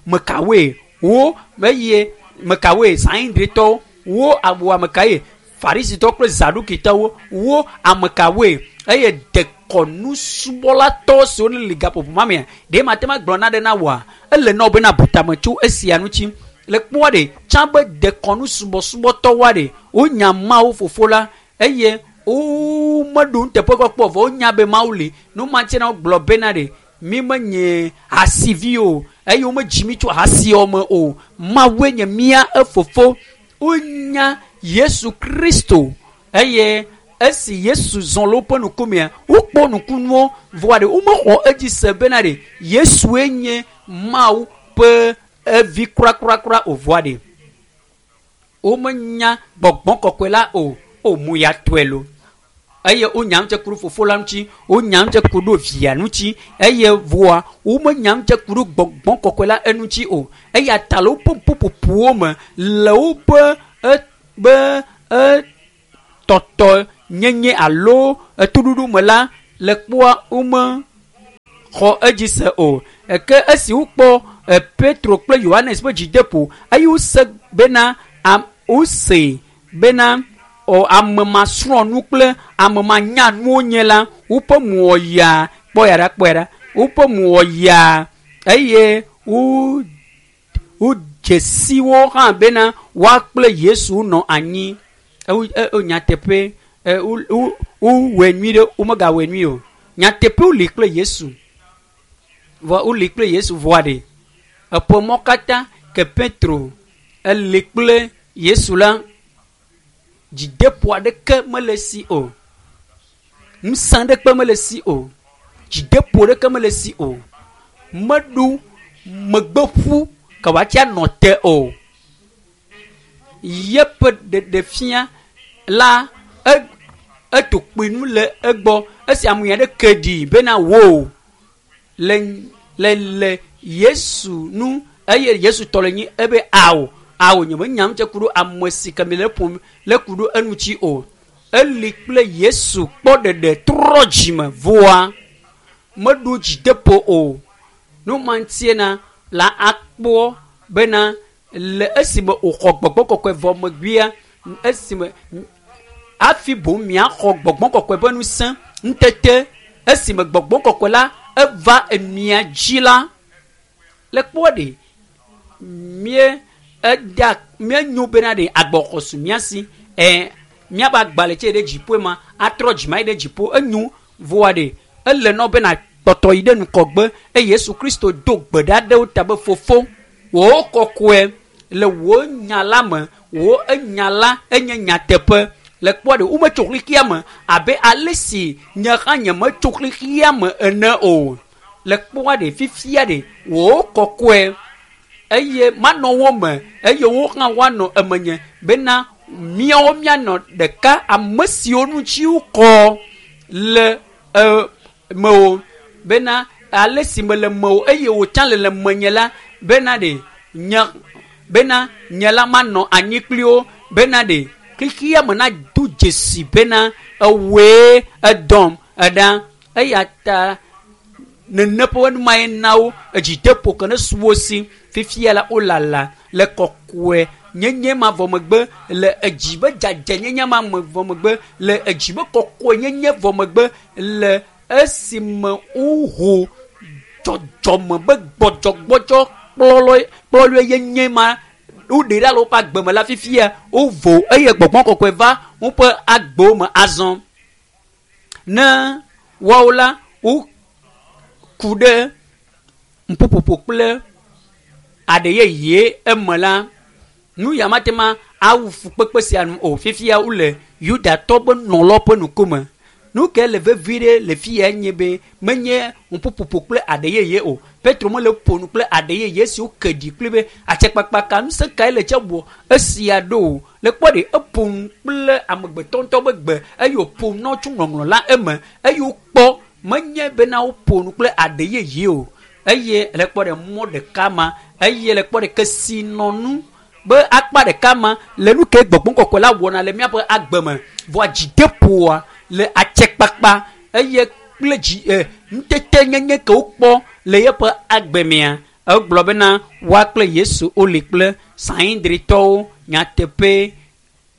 A: mekawoe wo eye mekawoe Sanhedritɔwo wo awu amekae Farisitɔwo kple Zadukitɔwo wo amekawoe eye dekɔnusubɔlatɔ siwo le gaƒoƒo ma mea ɖe mate ŋu agblɔ naɖe na woa ele na wo bena butame tso esia ŋuti. Le kpɔa ɖe tsã be dekɔnusubɔsubɔtɔwoa ɖe wonya Mawu fofo la eye womeɖo nuteƒekpɔkpɔ vɔ wonya be Mawu li. Nu ma ŋuti na wogblɔ bena ɖe mi menye hasivi o eye womedzi mi tso hasiawo me o. Mawue nye mía efofo. Wonya Yesu Kristo eye esi Yesu zɔ le woƒe ŋkumea wokpɔ nukunuwo vɔa ɖe womexɔ edzi se bena ɖe Yesue nye Mawu ƒe evi kurakura o vɔa ɖe womenya gbɔgbɔ kɔkɔe la o. O mu ya tɔe lo eye wonya ŋutse ku ɖo fofo la ŋuti, wonya ŋutse ku ɖo via ŋuti eye vɔa womenya ŋutse ku ɖo gbɔgbɔ kɔkɔe la eŋuti o. Eya ta le woƒe ƒuƒoƒowo me le woƒe be tɔtɔ nyenye alo etoɖoɖo me la le kpɔa wome xɔ edzi se o. Ke esi wokpɔ Petro kple Yohanes ƒe dzideƒo eye wose bena wose bena ame masrɔ̃ nu kple ame manya nuwo nye la woƒe mo wɔ yaa kpɔ ya ɖa woƒe mo wɔ yaa eye wodze si wo hã bena woa kple Yesu nɔ anyi. Nyateƒe wowɔe nyui ɖe womegawɔe nyui o. Nyateƒe woli kple Yesu vɔ woli kple Yesu vɔa ɖe eƒe mɔ katã ke Petro eli kple Yesu la dzideƒo aɖeke mele si o. Ŋusẽ ɖeke mele si o. Dzideƒo ɖeke mele si o. Meɖo megbeƒu ke wòatsi anɔ te o. Yeƒe ɖeɖefia la eto kpui nu le egbɔ esi ame aɖe ke ɖi bena wo le le le Yesu nu eye Yesu tɔ le nyi ebe awo awo nye menya nu tse ku ɖo ame si ke mi le ƒom le ku ɖo eŋuti o. Eli kple Yesu kpɔ ɖeɖe trɔ dzime voa meɖo dzideƒo o. Nu ma ŋutie na la akpɔ bena le esime wòxɔ gbɔgbɔ kɔkɔe vɔ megbea esime hafi boŋ miaxɔ gbɔgbɔ kɔkɔe ƒe ŋusẽ ŋutete esime gbɔgbɔ kɔkɔe la eva emia dzi la le kpɔ ɖe mie eda míenyo bena ɖe agbɔxɔ su mía si ɛ míaƒe agbalẽ tse ɖe dziƒo ma atrɔ dzima yi ɖe dziƒo enyo voa ɖe ele nɔ bena kpɔtɔ yi ɖe ŋgɔgbe eye Yesu Kristo do gbe ɖa ɖe wo ta be fofo wò kɔkɔe le wò nya la me wò enya la enye nyateƒe le kpɔ ɖe wometso xexea me abe ale si nye hã nye metso xexea me ene o le kpɔ ɖe fifia ɖe wò kɔkɔe eye manɔ wo me eye wo hã woanɔ emenye bena míawo míanɔ ɖeka ame siwo ŋuti wokɔ le mewò bena ale si mele mewò eye wò tsã le le menye la bena ɖe nye bena nye la manɔ anyi kpli wo bena ɖe xexea me nado dzesi bena ewòe edɔm eɖa eya ta nene ƒe nu mae na wo edzideƒo ke ne su wo si fifia la wolala le kɔkɔe nyenye ma vɔ megbe le edzi be dzadzɛnyenye ma me vɔ megbe le edzi be kɔkɔe nyenye vɔ megbe le esime woho dzɔdzɔme be gbɔdzɔgbɔdzɔ kplɔlɔe yenye ma woɖe ɖa le woƒe agbe me la fifia wovo eye gbɔgbɔ kɔkɔe va woƒe agbewo me azɔ ne woawo la woku ɖe ƒuƒoƒo kple aɖe yeye eme la nu ya mate ma awu fukpekpe sia nu o fifia wole Yudatɔ be nɔlɔ ƒe ŋkume. Nu ke le vevi ɖe le fi ya nye be menye ƒuƒoƒo kple aɖe yeye o. Petro mele ƒo nu kple aɖe yeye si woke ɖi kple be atsɛkpakpa ka ŋusẽ kae le tse wɔ esia ɖo o. Le kpɔ ɖe eƒo nu kple amegbetɔ ŋutɔ be gbe eye wòƒo nu na tso ŋɔŋlɔ la eme eye wokpɔ menye bena woƒo nu kple aɖe yeye o. Eye le kpɔ ɖe mɔ ɖeka ma eye le kpɔ ɖe kesinɔnu be akpa ɖeka ma le nu ke gbɔgbɔ kɔkɔe la wɔna le míaƒe agbe me vɔa dzideƒoa le atsɛkpakpa eye kple dzi ŋutete nyenye ke wokpɔ le yeƒe agbe mea egblɔ bena woa kple Yesu woli kple Sanhedritɔwo nyateƒe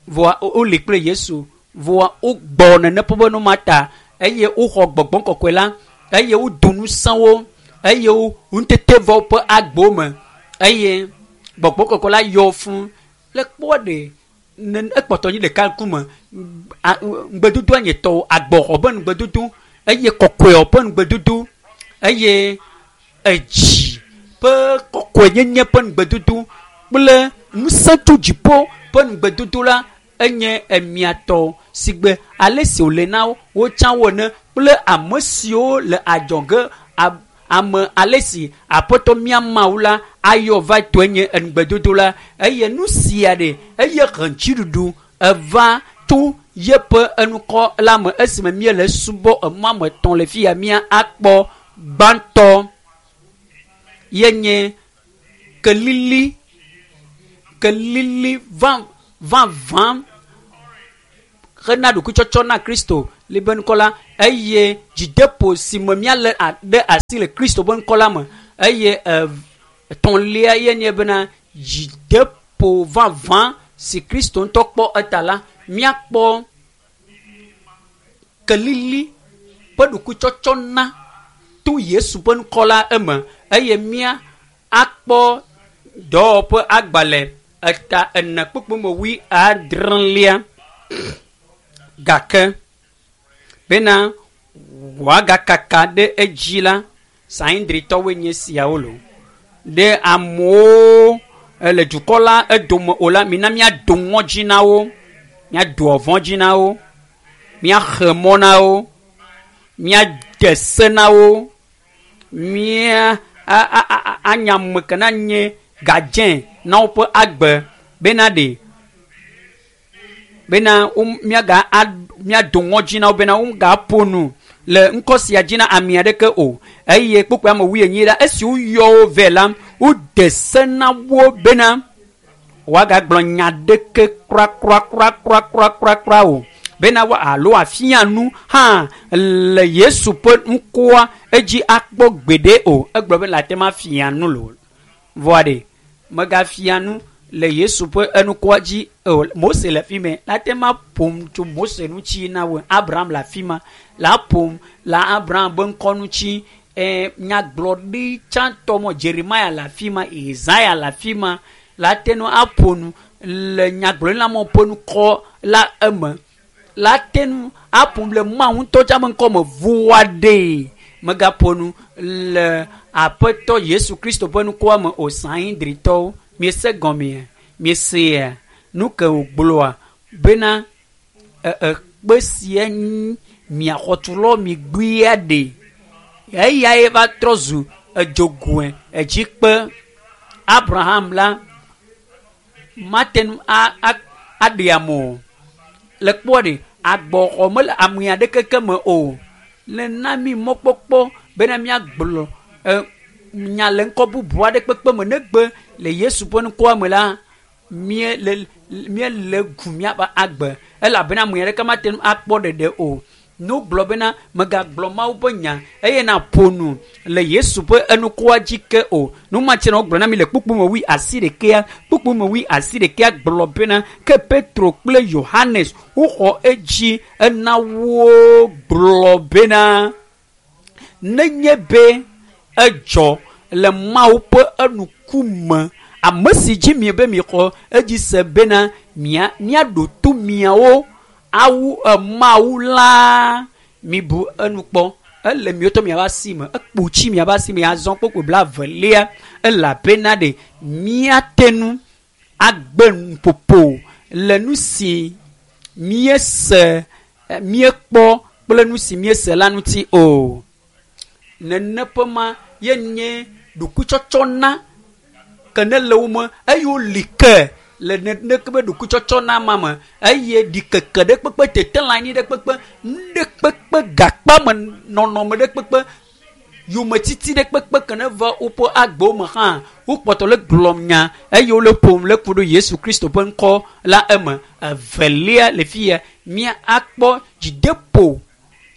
A: vɔa woli kple Yesu vɔa wogbɔ nene ƒe be nu ma ta eye woxɔ gbɔgbɔ kɔkɔe la eye wodo ŋusẽ wo eye wo ŋutete va woƒe agbewo me eye gbɔgbɔ kɔkɔe la yɔ fũ le kpɔ ɖe ne ekpɔtɔ nyi ɖeka ŋkume ŋugbedodoa nye tɔwo agbɔxɔ ƒe ŋugbedodo eye kɔkɔewo ƒe ŋugbedodo eye edzi ƒe kɔkɔenyenye ƒe ŋugbedodo kple ŋusẽ tso dziƒo ƒe ŋugbedodo la enye emiatɔ si gbe ale si wòle na wo tsã wo ene kple ame siwo le adzɔge ame ale si aƒetɔ mía Mawu la ayɔ va tɔe nye ŋugbedodo la eye nu sia ɖe eye he dziɖuɖu eva tso yeƒe enukɔ la me esime míele subɔ emɔ ame etɔ̃ le fi ya mía akpɔ gbãtɔ yenye kelili kelili vavã hena ɖokuitsɔtsɔ na Kristo le be ŋkɔ la eye dzideƒo si me míalé ɖe asi le Kristo ƒe ŋkɔ la me eye etɔ̃lia ye nye bena dzideƒo vavã si Kristo ŋutɔ kpɔ eta la míakpɔ kelili ƒe ɖokuitsɔtsɔ na to Yesu ƒe ŋkɔ la eme eye mía akpɔ dɔwɔƒe agbalẽ eta ene kpukpui me wui adrelia gake bena wòagakaka ɖe edzi la Sanhedritɔwoe nye siawo lo ɖe amewo le dukɔ la edome o la mina míado ŋɔdzi na wo míado ɔvɔ̃ dzi na wo míaxe mɔ na wo. Míade se na wo. Mía anya ame ke na nye gadzẽ na woƒe agbe bena ɖe bena míaga míado ŋɔdzi na wo bena womegaƒo nu le ŋkɔ sia dzi na ame aɖeke o. Eye kpukpui ame wuienyi la, esi woyɔ wo vɛ la, wode se na wo bena woagagblɔ nya ɖeke krakrakrakrakrakrakra o bena wa alo afia nu hã le Yesu ƒe ŋkɔa edzi akpɔ gbeɖe o. Egblɔ be le ate ma fia nu lo. Vɔa ɖe megafia nu le Yesu ƒe enukɔa dzi o. Mose le fi mɛ la te ma ƒom tso Mose ŋuti na wo. Abraham le afi ma la ƒom le Abraham be ŋkɔ ŋuti. Nyagblɔɖi tsãtɔ mɔ Jeremia le afi ma, Isaya le afi ma la te nu aƒo nu le nyagblɔɖila mɔ ƒe ŋkɔ la eme. La te nu aƒo nu le Mawu ŋutɔ tsã be ŋkɔ me vɔa ɖe megaƒo nu le Aƒetɔ Yesu Kristo ƒe ŋkɔa me o. Sanhedritɔwo, miese gɔmea? Miesea nu ke wògblɔa bena ekpe sia mia xɔtulɔ mi gbea ɖe. Eyae va trɔ zu edzogoe edzikpe. Abraham la mate ŋu aɖe ame o. Le kpɔa ɖe agbɔxɔ mele ame aɖeke ke me o. Nena mi mɔkpɔkpɔ bena míagblɔ nya le ŋkɔ bubu aɖe kpekpe me negbe le Yesu ƒe ŋkɔa me la míele gu míaƒe agbe elabena ame aɖeke mate ŋu akpɔ ɖeɖe o. Ne wogblɔ bena megagblɔ Mawu ƒe nya eye naƒo nu le Yesu ƒe enukɔa dzi ke o. Nu ma tse na wogblɔ na mi le kpukpui me wui asi ɖekea. Kpukpui me wui asi ɖekea gblɔ bena ke Petro kple Yohanes woxɔ edzi ena wo gblɔ bena nenye be edzɔ le Mawu ƒe enukume ame si dzi mi be mixɔ edzi se bena míaɖo to miawo awu Mawu la mibu enu kpɔ. Ele miwotɔ miaƒe asi me, ekpo tsi miaƒe asi me azɔ kpokpo blaevelia elabena ɖe míate ŋu agbe nuƒoƒo le nu si míese míekpɔ kple nu si míese la ŋuti o. Nene ƒe ma ye nye ɖokuitsɔtsɔ na ke ne le wo me eye woli ke le neneke be ɖokuitsɔtsɔ na ma me eye ɖikeke ɖe kpekpe tete le anyi ɖe kpekpe nu ɖe kpekpe gakpa me nɔnɔme ɖe kpekpe yometiti ɖe kpekpe ke ne va woƒe agbewo me hã wokpɔtɔ le gblɔm nya eye wole ƒom le ku ɖo Yesu Kristo ƒe ŋkɔ la eme. Evelia le fi ya mía akpɔ dzideƒo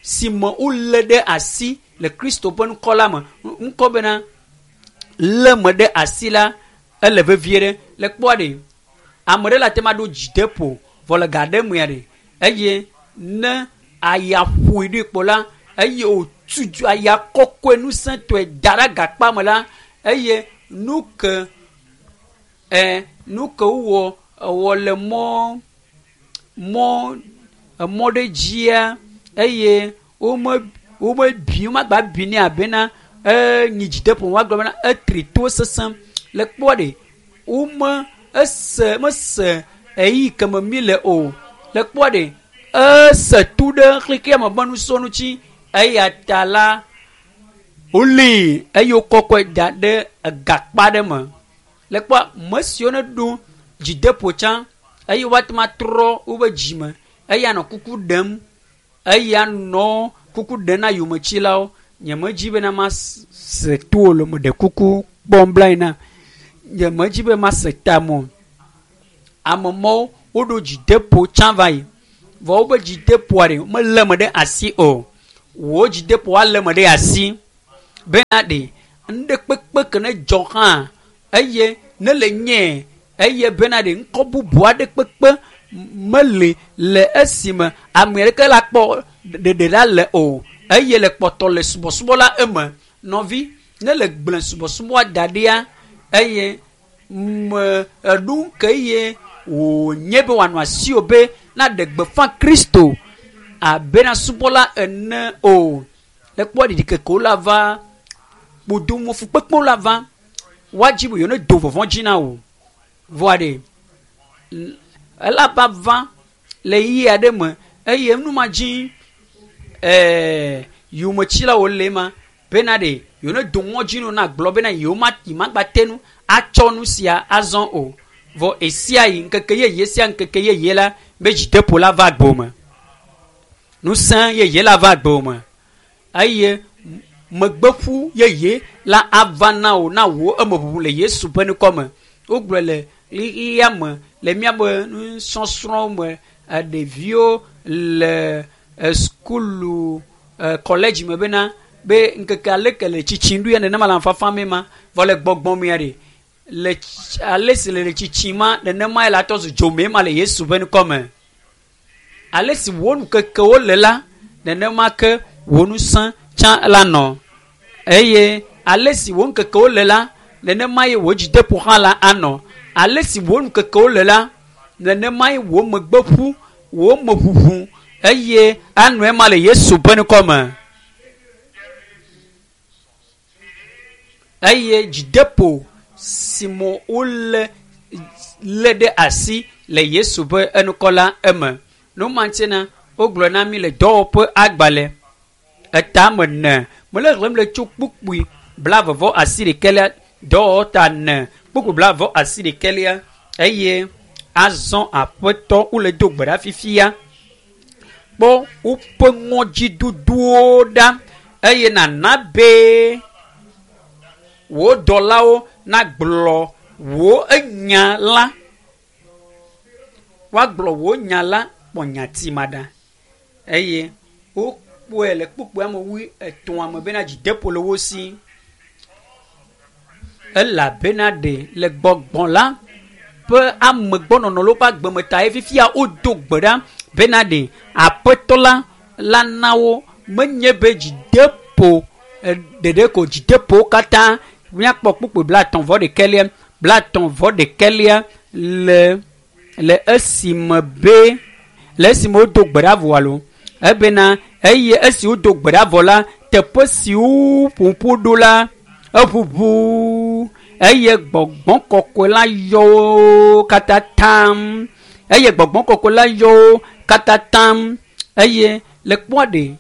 A: si me wolé ɖe asi le Kristo ƒe ŋkɔ la me. Ŋkɔ bena lé me ɖe asi la ele vevie ɖe. Le kpɔa ɖe ame ɖe le ate ma ɖo dzideƒo vɔ le ga ɖe mea ɖe eye ne aya ƒoe ɖoe kpɔ la eye wòtutu aya kɔkɔe ŋusẽtɔe da ɖe agakpa me la eye nu ke nu ke wowɔ ewɔ le mɔ mɔ ɖe dzia eye womebi womagba bi nɛ abena nyi dzideƒo woagblɔ bena etri to sesẽ. Le kpɔa ɖe wome ese mese eyi ke me mi le o. Le kpɔa ɖe ese tu ɖe xexea me ƒe nusɔ ŋuti eya ta la wolée eye wokɔkɔe da ɖe egakpa ɖe me. Le kpɔa me siwo ne ɖo dzideƒo tsã eye woate ŋu atrɔ woƒe dzime eya nɔ kuku ɖem eya nɔ kuku ɖem na yometsilawo. Nyemedzi bena mase to o le meɖe kuku kpɔm bla na. Nyemedzi be mase tame o. Ame mawo woɖo dzideƒo tsã va yi vɔ woƒe dzideƒoa ɖe melé me ɖe asi o. Wò dzideƒo alé me ɖe asi bena ɖe nu ɖe kpekpe ke ne dzɔ hã eye ne le nye eye bena ɖe ŋkɔ bubu aɖe kpekpe mele le esime ame aɖeke la kpɔ ɖeɖe la le o eye le kpɔtɔ le subɔsubɔ la eme. Nɔvi ne le gblẽ subɔsubɔa da ɖia eye me eɖu ke ye wònye be wòanɔ asiwò be naɖe gbeƒã Kristo abena subɔla ene o. Le kpɔ ɖiɖikekewo la va, kpodomo fukpekpewo la va, woadzi be yewo ne do vɔvɔ̃ dzi na wò. Vɔa ɖe ela va va le ɣeyiɣi aɖe me eye nu ma dzi Yometsilawo le ma bena ɖe yewo ne do ŋɔdzi nu na gblɔ bena yewo ma yi magba te nu atsɔ nu sia azɔ o. Vɔ esia yi ŋkeke yeye sia ŋkeke yeye la be dzideƒo la va agbo me. Ŋusẽ yeye la va agbo me eye megbeƒu yeye la ava na wò na wò emeʋuʋu le Yesu ƒe ŋkɔ me. Wogblɔ le xexea me le míaƒe nusɔsrɔ̃wo me ɖeviwo le sukulu kɔledzi me bena be ŋkeke aleke le tsitsim ɖo ya nenema le amefafa me ma vɔ le gbɔgbɔ mea ɖe le ale si le tsitsim ma nenema ye la tɔ zu dzomee ma le Yesu ƒe ŋkɔ me. Ale si wò ŋkekewo le la nenema ke wò ŋusẽ tsã la nɔ eye ale si wò ŋkekewo le la nenema ye wò dzideƒo hã la anɔ. Ale si wò ŋkekewo le la nenema ye wò megbeƒu wò meʋuʋu eye anɔ ema le Yesu ƒe ŋkɔ me. Eye dzideƒo si me wole lé ɖe asi le Yesu ƒe ŋkɔ la eme. Nu ma ŋuti na wogblɔ na mi le dɔwɔƒe agbalẽ etame ne mele xlẽm le tso kpukpui 28 dɔwɔwɔ ta ne kpukpui 28 eye azɔ aƒetɔ wole do gbe ɖa fifia kpɔ woƒe ŋɔdzidodowo ɖa eye nana be wò dɔlawo nagblɔ wò enya la woagblɔ wò nya la kpɔ nyati ma ɖa eye wokpɔe le kpukpui ame 83 me bena dzideƒo le wo si elabena ɖe le gbɔgbɔ la ƒe amegbɔnɔnɔ le woƒe agbeme ta ye fifia wodo gbe ɖa bena ɖe aƒetɔ la la na wo menye be dzideƒo ɖeɖe ko dzideƒo katã míakpɔ kpukpui 36 36 le esime be le esime wodo gbe ɖa vɔ alo ebena eye esi wodo gbe ɖa vɔ la teƒe si woƒoƒu ɖo la eʋuʋu eye gbɔgbɔ kɔkɔe la yɔ wo katã tam eye gbɔgbɔ kɔkɔe la yɔ wo katã tam eye le kpɔa ɖe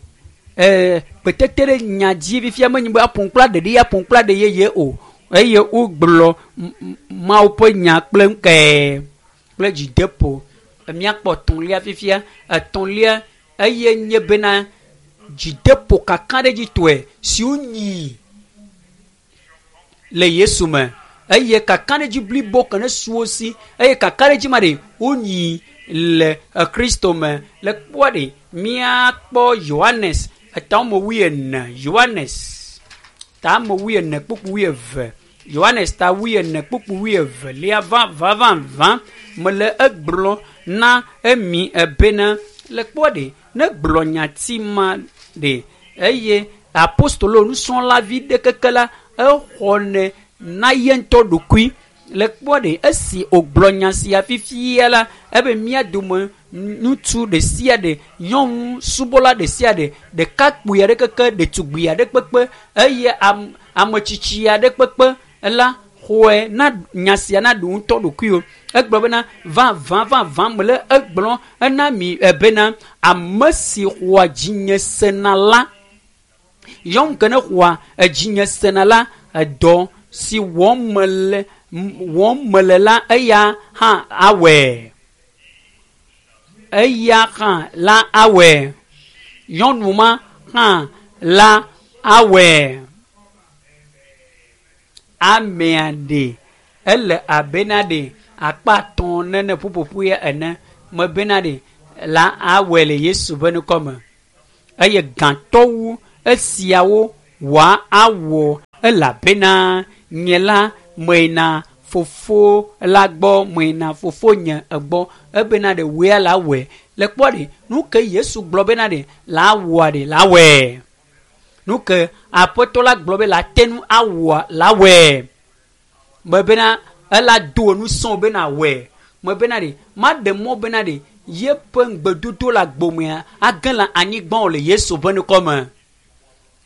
A: gbetete ɖe nya dzi fifia menye be aƒoŋkpla ɖeɖi aƒoŋkpla ɖe yeye o eye wogblɔ Mawu ƒe nya kple ŋkɛ kple dzideƒo. Míakpɔ etɔ̃lia fifia etɔ̃lia eye nye bena dzideƒo kakaɖedzitɔe si wonyi le Yesu me eye kakaɖedzi blibo ke ne su wo si eye kakaɖedzi ma ɖe wonyi le Kristo me. Le kpɔa ɖe míakpɔ Yohanes etame 40 Yohanes tame 40 kpukpui 22 Yohanes ta 40 kpukpui 22 vavavavã mele egblɔ na emi ebena le kpɔa ɖe ne gblɔ nyati ma ɖe eye apostolo nusrɔ̃lavi ɖe keke la exɔnɛ na ye ŋutɔ ɖokui le kpɔa ɖe esi wògblɔ nya sia fifia la ebe mía dome ŋutsu ɖe sia ɖe nyɔnu subɔla ɖe sia ɖe ɖekakpui aɖe keke ɖetugbui aɖe kpekpe eye ametsitsi aɖe kpekpe la xɔe na nya sia na ɖu ŋutɔ ɖokuiwo. Egblɔ bena vavã vavã mele egblɔ ena mi ebena ame si xɔa dzinye sena la nyɔnu ke ne xɔa edzinye sena la edɔ si wɔm mele la eya hã awɔe eya hã la awɔe nyɔnu ma hã la awɔe amea ɖe ele abena ɖe akpa atɔ̃ nene ƒuƒoƒu ya ene mebena ɖe la awɔe le Yesu ƒe ŋkɔ me eye gãtɔwu esiawo wòa awɔ elabena nye la meyina fofo la gbɔ meyina fofonye egbɔ ebena ɖe wòe la wɔe le kpɔ ɖe nu ke Yesu gblɔ bena ɖe la wɔa ɖe la wɔe nu ke aƒetɔ la gblɔ be la te nu awɔa la wɔe mebena ela do ŋusẽ bena wɔe mebena ɖe maɖe mɔ bena ɖe yeƒe ŋugbedodo le agbomea age le anyigba o le Yesu ƒe ŋkɔ me.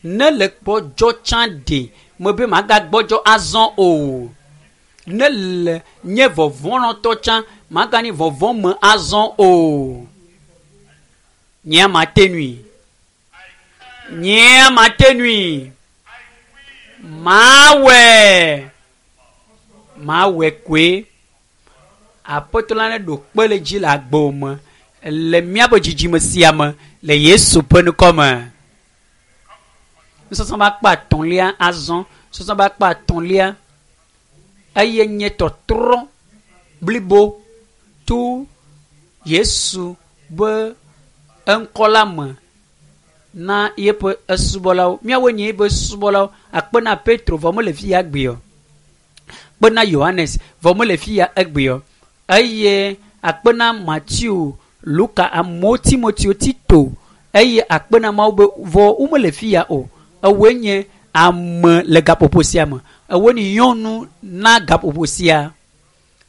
A: Ne le gbɔdzɔ tsã ɖe mebe magagbɔdzɔ azɔ o. Ne le nye vɔvɔ̃nɔtɔ tsã maganye vɔvɔ̃ me azɔ o. Nye mate nui. Nyea mate nui. Mawɔe. Mawɔe koe. Aƒetɔ la neɖo kpe le dzi le agbewo me le míaƒe dzidzime sia me le Yesu ƒe ŋkɔ me. Nusɔsrɔ̃ ƒe akpa etɔ̃lia azɔ. Nusɔsrɔ̃ ƒe akpa etɔ̃lia eye nye tɔtrɔ blibo to Yesu be eŋkɔ la me na yeƒe esubɔlawo. Míawoe nye yeƒe subɔlawo. Akpe na Petro vɔ mele fi ya egbea o. Akpe na Yohanes vɔ mele fi ya egbea o. Eye akpe na Mateo, Luka, amewo, Timoteo, Tito eye akpe na Mawu be vɔ womele fi ya o. Ewoe nye ame le gaƒoƒo sia me. Ewoe nye nyɔnu na gaƒoƒo sia.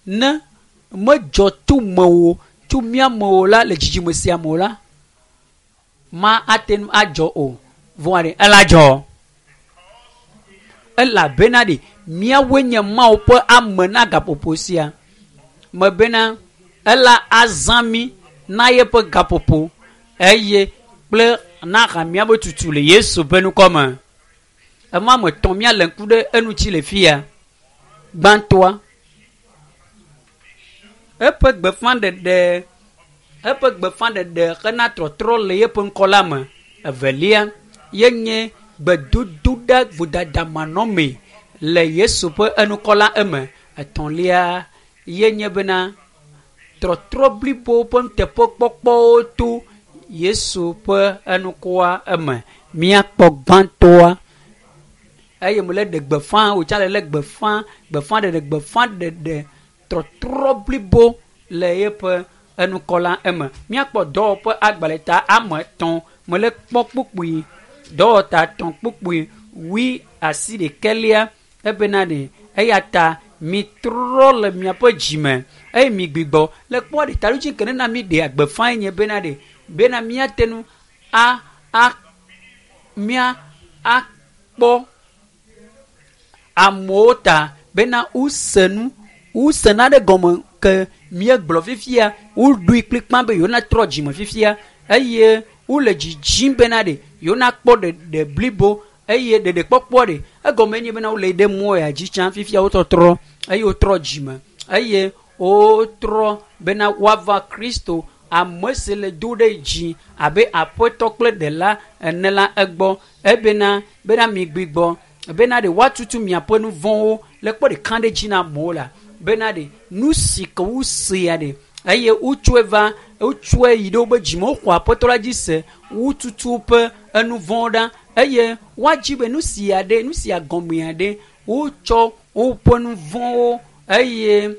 A: Ne medzɔ to mewò tso mía me o la le dzidzime sia me o la, ma ate ŋu adzɔ o. Vɔa ɖe ela dzɔ. Elabena ɖe míawoe nye Mawu ƒe ame na gaƒoƒo sia. Me bena ela azã mí na yeƒe gaƒoƒo eye kple na hamea be tutu le Yesu ƒe ŋkɔ me. Ema me tɔ̃ míale ŋku ɖe eŋuti le fia. Gbãtɔa, eƒe gbeƒãɖeɖe eƒe gbeƒãɖeɖe hena trɔtrɔ le yeƒe ŋkɔ la me. Evelia ye nye gbedodoɖa vodadamanɔmee le Yesu ƒe enukɔ la eme. Etɔ̃lia ye nye bena trɔtrɔ blibo ƒe nuteƒekpɔkpɔwo to Yesu ƒe enukɔa eme. Míakpɔ gbãtɔa eye mele ɖe gbeƒã wòtsa le lé gbeƒã gbeƒãɖeɖe gbeƒãɖeɖe trɔtrɔ blibo le yeƒe enukɔ la eme. Míakpɔ dɔwɔƒe agbalẽ ta ame etɔ̃ mele kpɔ kpukpui dɔwɔta etɔ̃ kpukpui wui asi ɖekɛlia ebena ɖe eya ta mitrɔ le miaƒe dzime eye migbigbɔ le kpɔ ɖe taɖodzi ke nena mi ɖea gbeƒã nye bena ɖe bena míate ŋu a a mía akpɔ amewo ta bena wose nu wose nane gɔme ke míegblɔ fifia woɖoe kplikpa be yewo trɔ dzime fifia eye wole dzidzim bena ɖe yewo nakpɔ ɖeɖe blibo eye ɖeɖekpɔkpɔ ɖe egɔme nye bena wole ɖe mɔ ya dzi tsã fifia wotɔtrɔ eye wotrɔ dzime eye wotrɔ bena woava Kristo ame si le do ɖe dzi abe aƒetɔ kple ɖela ene la egbɔ ebena bena migbigbɔ bena ɖe woatutu miaƒe nu vɔ̃wo le kpɔ ɖeka ɖe dzi na amewo la bena ɖe nu si ke wosea ɖe eye wotsɔe va wotsɔe yi ɖe woƒe dzime woxɔ aƒetɔ la dzi se wotutu woƒe enu vɔ̃wo ɖa eye woadzi be nu sia ɖe nu sia gɔmea ɖe wotsɔ woƒe nu vɔ̃wo eye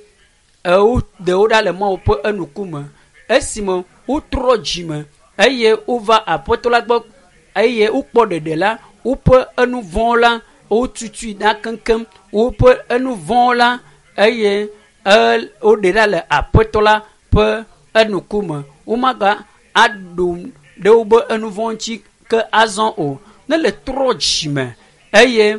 A: woɖe wo ɖa le Mawu ƒe enukume esime wotrɔ dzime eye wova aƒetɔ la gbɔ eye wokpɔ ɖeɖe la woƒe enu vɔ̃wo la wotutui ɖa keŋkeŋ woƒe enu vɔ̃wo la eye woɖe ɖa le aƒetɔ la ƒe enukume womaga aɖu ɖe woƒe enu vɔ̃ ŋuti ke azɔ o ne le trɔ dzime eye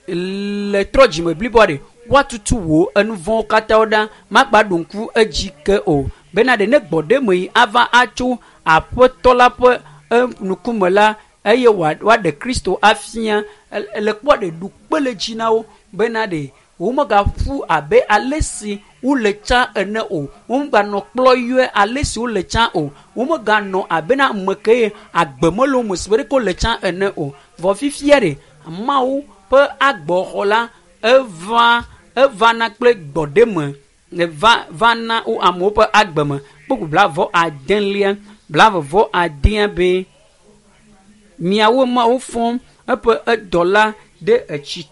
A: le trɔ dzime bliboa ɖe woatutu wò enu vɔ̃wo katã ɖa magba ɖo ŋku edzi ke o bena ɖe ne gbɔ ɖe me yi ava atso aƒetɔ la ƒe ŋkume la eye woaɖe Kristo afia le kpɔ ɖe ɖu kpe le dzi na wo bena ɖe womegaƒu abe ale si wole tsã ene o womeganɔ kplɔ yɔe ale si wole tsã o womeganɔ abe na ame ke ye agbe mele wo me si be ɖeke wole tsã ene o vɔ fifia ɖe Mawu ƒe agbɔxɔ la eva evana kple gbɔɖeme va va na wo amewo ƒe agbe me kpukpu blaeve adelia blaeve vɔ adea be miawo Mawu fɔ eƒe edɔla ɖe etsi.